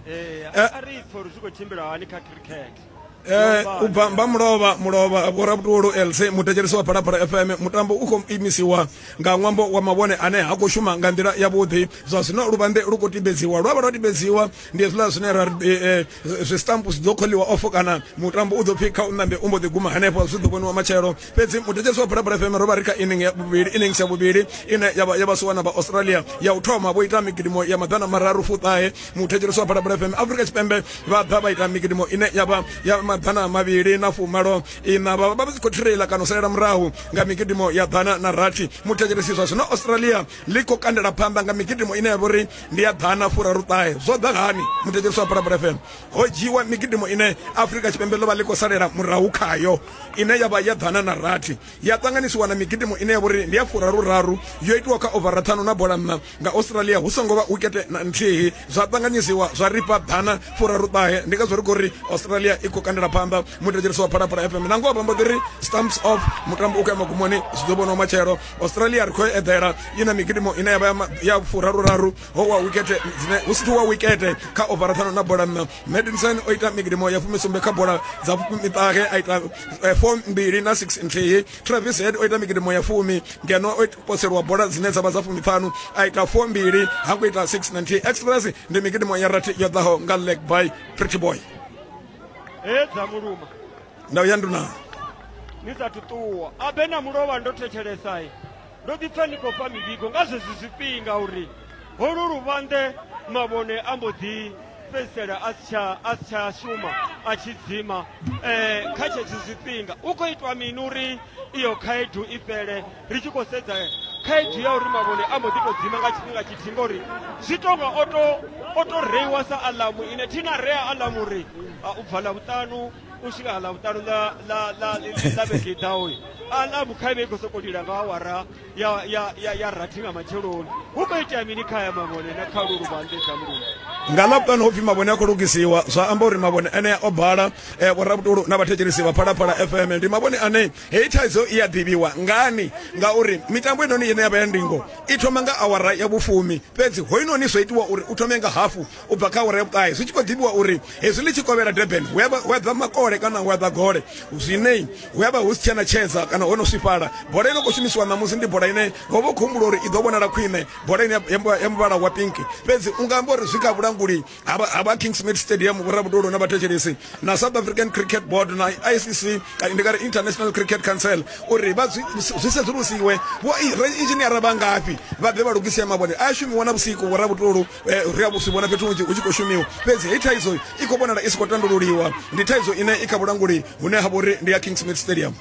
Eh a ri pfhe uri zwi khou tshimbila hani kha cricket. Eh u bva mba mulovha mulovha vhorabutulu L C muthetshelesi wa Phalaphala F M mutambo u khou imisiwa nga ṅwambo wa mavhone ane ha khou shuma nga nḓila yavhuḓi. Zwa zwino luvhanḓe lu khou timbedziwa, lwa vha lwa timbedziwa ndi hezwiḽa zwine ra ri zwi stamp zwi ḓo kholiwa off kana mutambo u ḓo pfhi kha u ṋambe u mbo ḓi guma hanefho, zwi ḓo vhoniwa matshelo. Fhedzi muthetshelesi wa Phalaphala F M ro vha ri kha inning ya vhuvhili, innings ya vhuvhili ine ya vha ya vhasiwana vha Australia ya u thoma vho ita migidimo ya maḓana mararu fuṱahe. Muthetshelesi wa Phalaphala F M Afrika Tshipembe vha ḓa vha ita migidimo ine ya vha ya maḓana mavhili na fumalo ina vha vha tshi khou thirela kana u salela murahu nga migidimo ya ḓana na rathi. Muthetshelesi zwa zwino Australia ḽi khou kandela phanḓa nga migidimo ine ya vha uri ndi ya ḓana furaru ṱahe. Zwo ḓa hani muthetshelesi wa Phalaphala F M? Ho dzhiwa migidimo ine Afrika Tshipembe ḽo vha ḽi khou salela murahu khayo ine ya vha ya ḓana na rathi ya ṱanganisiwa na migidimo ine ya vha uri ndi ya furaru raru yo itiwa kha ovara ṱhanu na bola nṋa nga Australia hu songo vha wikete na nthihi, zwa ṱanganyisiwa zwa ripa ḓana furaru ṱahe. Ndi ngazwo ri khou ri Australia i khou kandela phanḓa. Muthetshelesi wa Phalaphala F M na ngoho vha mbo ḓi ri stamps off, mutambo u khou ya magumoni, zwi ḓo vhoniwa matshelo. Australia ri khou eḓela i na migidimo ine ya vha ya furaru raru ho wa wikete dzine hu si wa wikete kha ovara ṱhanu na bola nṋa. Madison o ita migidimo ya fumisumbe kha bola dza miṱahe a ita four mbili na six nthihi. Travis Head o ita migidimo ya fumi ngeno o poselwa bola dzine dza vha dza fumiṱhanu a ita four mbili ha khou ita six na nthihi. Express ndi migidimo ya rathi yo ḓaho nga leg by Pretty Boy. He dza muluma ndau ya nduna ni sathu ṱuwa abe na mulovha ndo thetshelesai ndo ḓi pfa ndi khou fha mivhigo nga zwezwi zwifhinga uri holu luvhanḓe mavhone a mbo ḓi fhedzisela a si tsha a si tsha shuma a tshi dzima eh kha tshetsho zwifhinga u khou itwa mini uri iyo khaedu i fhele ri tshi khou sedza khaedu ya uri mavhone a mbo ḓi tou dzima nga tshifhinga tshithihi ngori zwi tonga o to o to reiwa sa aḽamu ine thina rea aḽamu uri u bva ḽavhuṱanu u swika ḽavhuṱanu ḽa ḽa ḽa ḽa vhege i ḓaho aḽamu kha ivhe i khou sokou lila nga awara ya ya ya ya rathi nga matsheloni. Hu khou itea mini kha ya mavhone na kha lulu vhanḓe dza mulungu? Nga Ḽavhuṱanu hopfi mavhone a khou lugisiwa, zwa amba uri mavhone ane o bala. eh, vhorabutulu na vhathetshelesi vha Phalaphala F M, ndi mavhone ane heyi thaidzo i a ḓivhiwa ngani, ngauri mitambo inoni ine ya vha ya ndingo i thoma nga awara ya vhufumi, fhedzi hoinoni zwo itiwa uri u thome nga hafu u bva kha awara ya vhuṱahe, zwi tshi khou ḓivhiwa uri hezwi ḽi tshi kovhela Durban hu a ḓa makole kana hu a ḓa gole, zwine hu a vha hu si tshena tshedza kana ho no swifhala. Bola ine khou shumisiwa ṋamusi ndi bola ine ho vha khou humbula uri i ḓo vhonala khwine, bola ine ya muvhala wa pink. Fhedzi u nga amba uri zwi kha vhulanguli ha vha Kingsmead Stadium, vhorabudolo na vhathetshelesi, na South African Cricket Board na I C C, ndi nga ri International Cricket Council, uri vha zwi sedzulusiwe vho inzhiniara vha ngafhi, vha ḓe vha lugise mavhone. A shumiwa na vhusiku, vhorabutulu, ri a zwi vhona fhethu hunzhi hu tshi khou shumiwa, fhedzi heyi thaidzo i khou vhonala i si khou tandululiwa. Ndi thaidzo ine i kha vhulanguli hune ha vha uri ndi ya Kingsmead Stadium.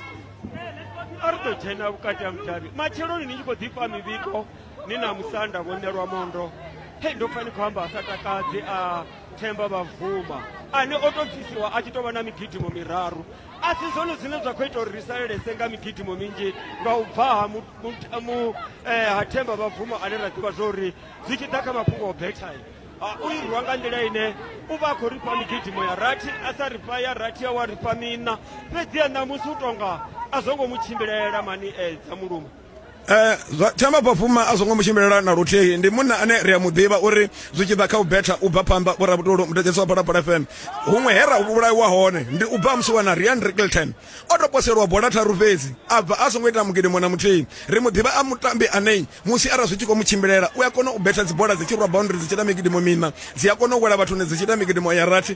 A ri ḓo dzhena vhukati ha mudavhi matsheloni ni tshi khou ḓifha mivhigo ni na musanda vho ṋelwa mondo. Hei, ndo pfa ni khou amba a sa takadzi a Themba Bavuma ane o tou bvisiwa a tshi tou vha na migidimo miraru. A si zwone zwine zwa khou ita uri ri salelese nga migidimo minzhi nga u bva ha, mu, mu, mu, eh, ha Themba Bavuma ane ra ḓivha zwo uri zwi tshi ḓa kha mafhungo o betha u irwa nga nḓila ine u vha a khou ri fha migidimo ya rathi, a sa ri fha ya rathi ya wa ri fha miṋa, fhedziha ṋamusi u tonga a zwo ngo mu tshimbilela mani eh, dza mulumo. Eh, Themba Bafuma a songo mu tshimbilela na luthihi. Ndi munna ane ri a mu ḓivha uri zwi tshi ḓa kha u betha u bva phanḓa. Vhorabutulu, mutetsheso wa Phalaphala F M, huṅwe he ra vhulaiwa hone ndi u bva musi wana Ryan Rickelton o to poselwa bola tharu fhedzi, a bva a songo ita mugidimo na muthihi. Ri mu ḓivha a mutambi ane musi arali zwi tshi khou mu tshimbilela u a kona u betha dzibola dzi tshi rwa boundary dzi tshi ita migidimo miṋa, dzi a kona u wela vhathuni dzi tshi ita migidimo ya rathi.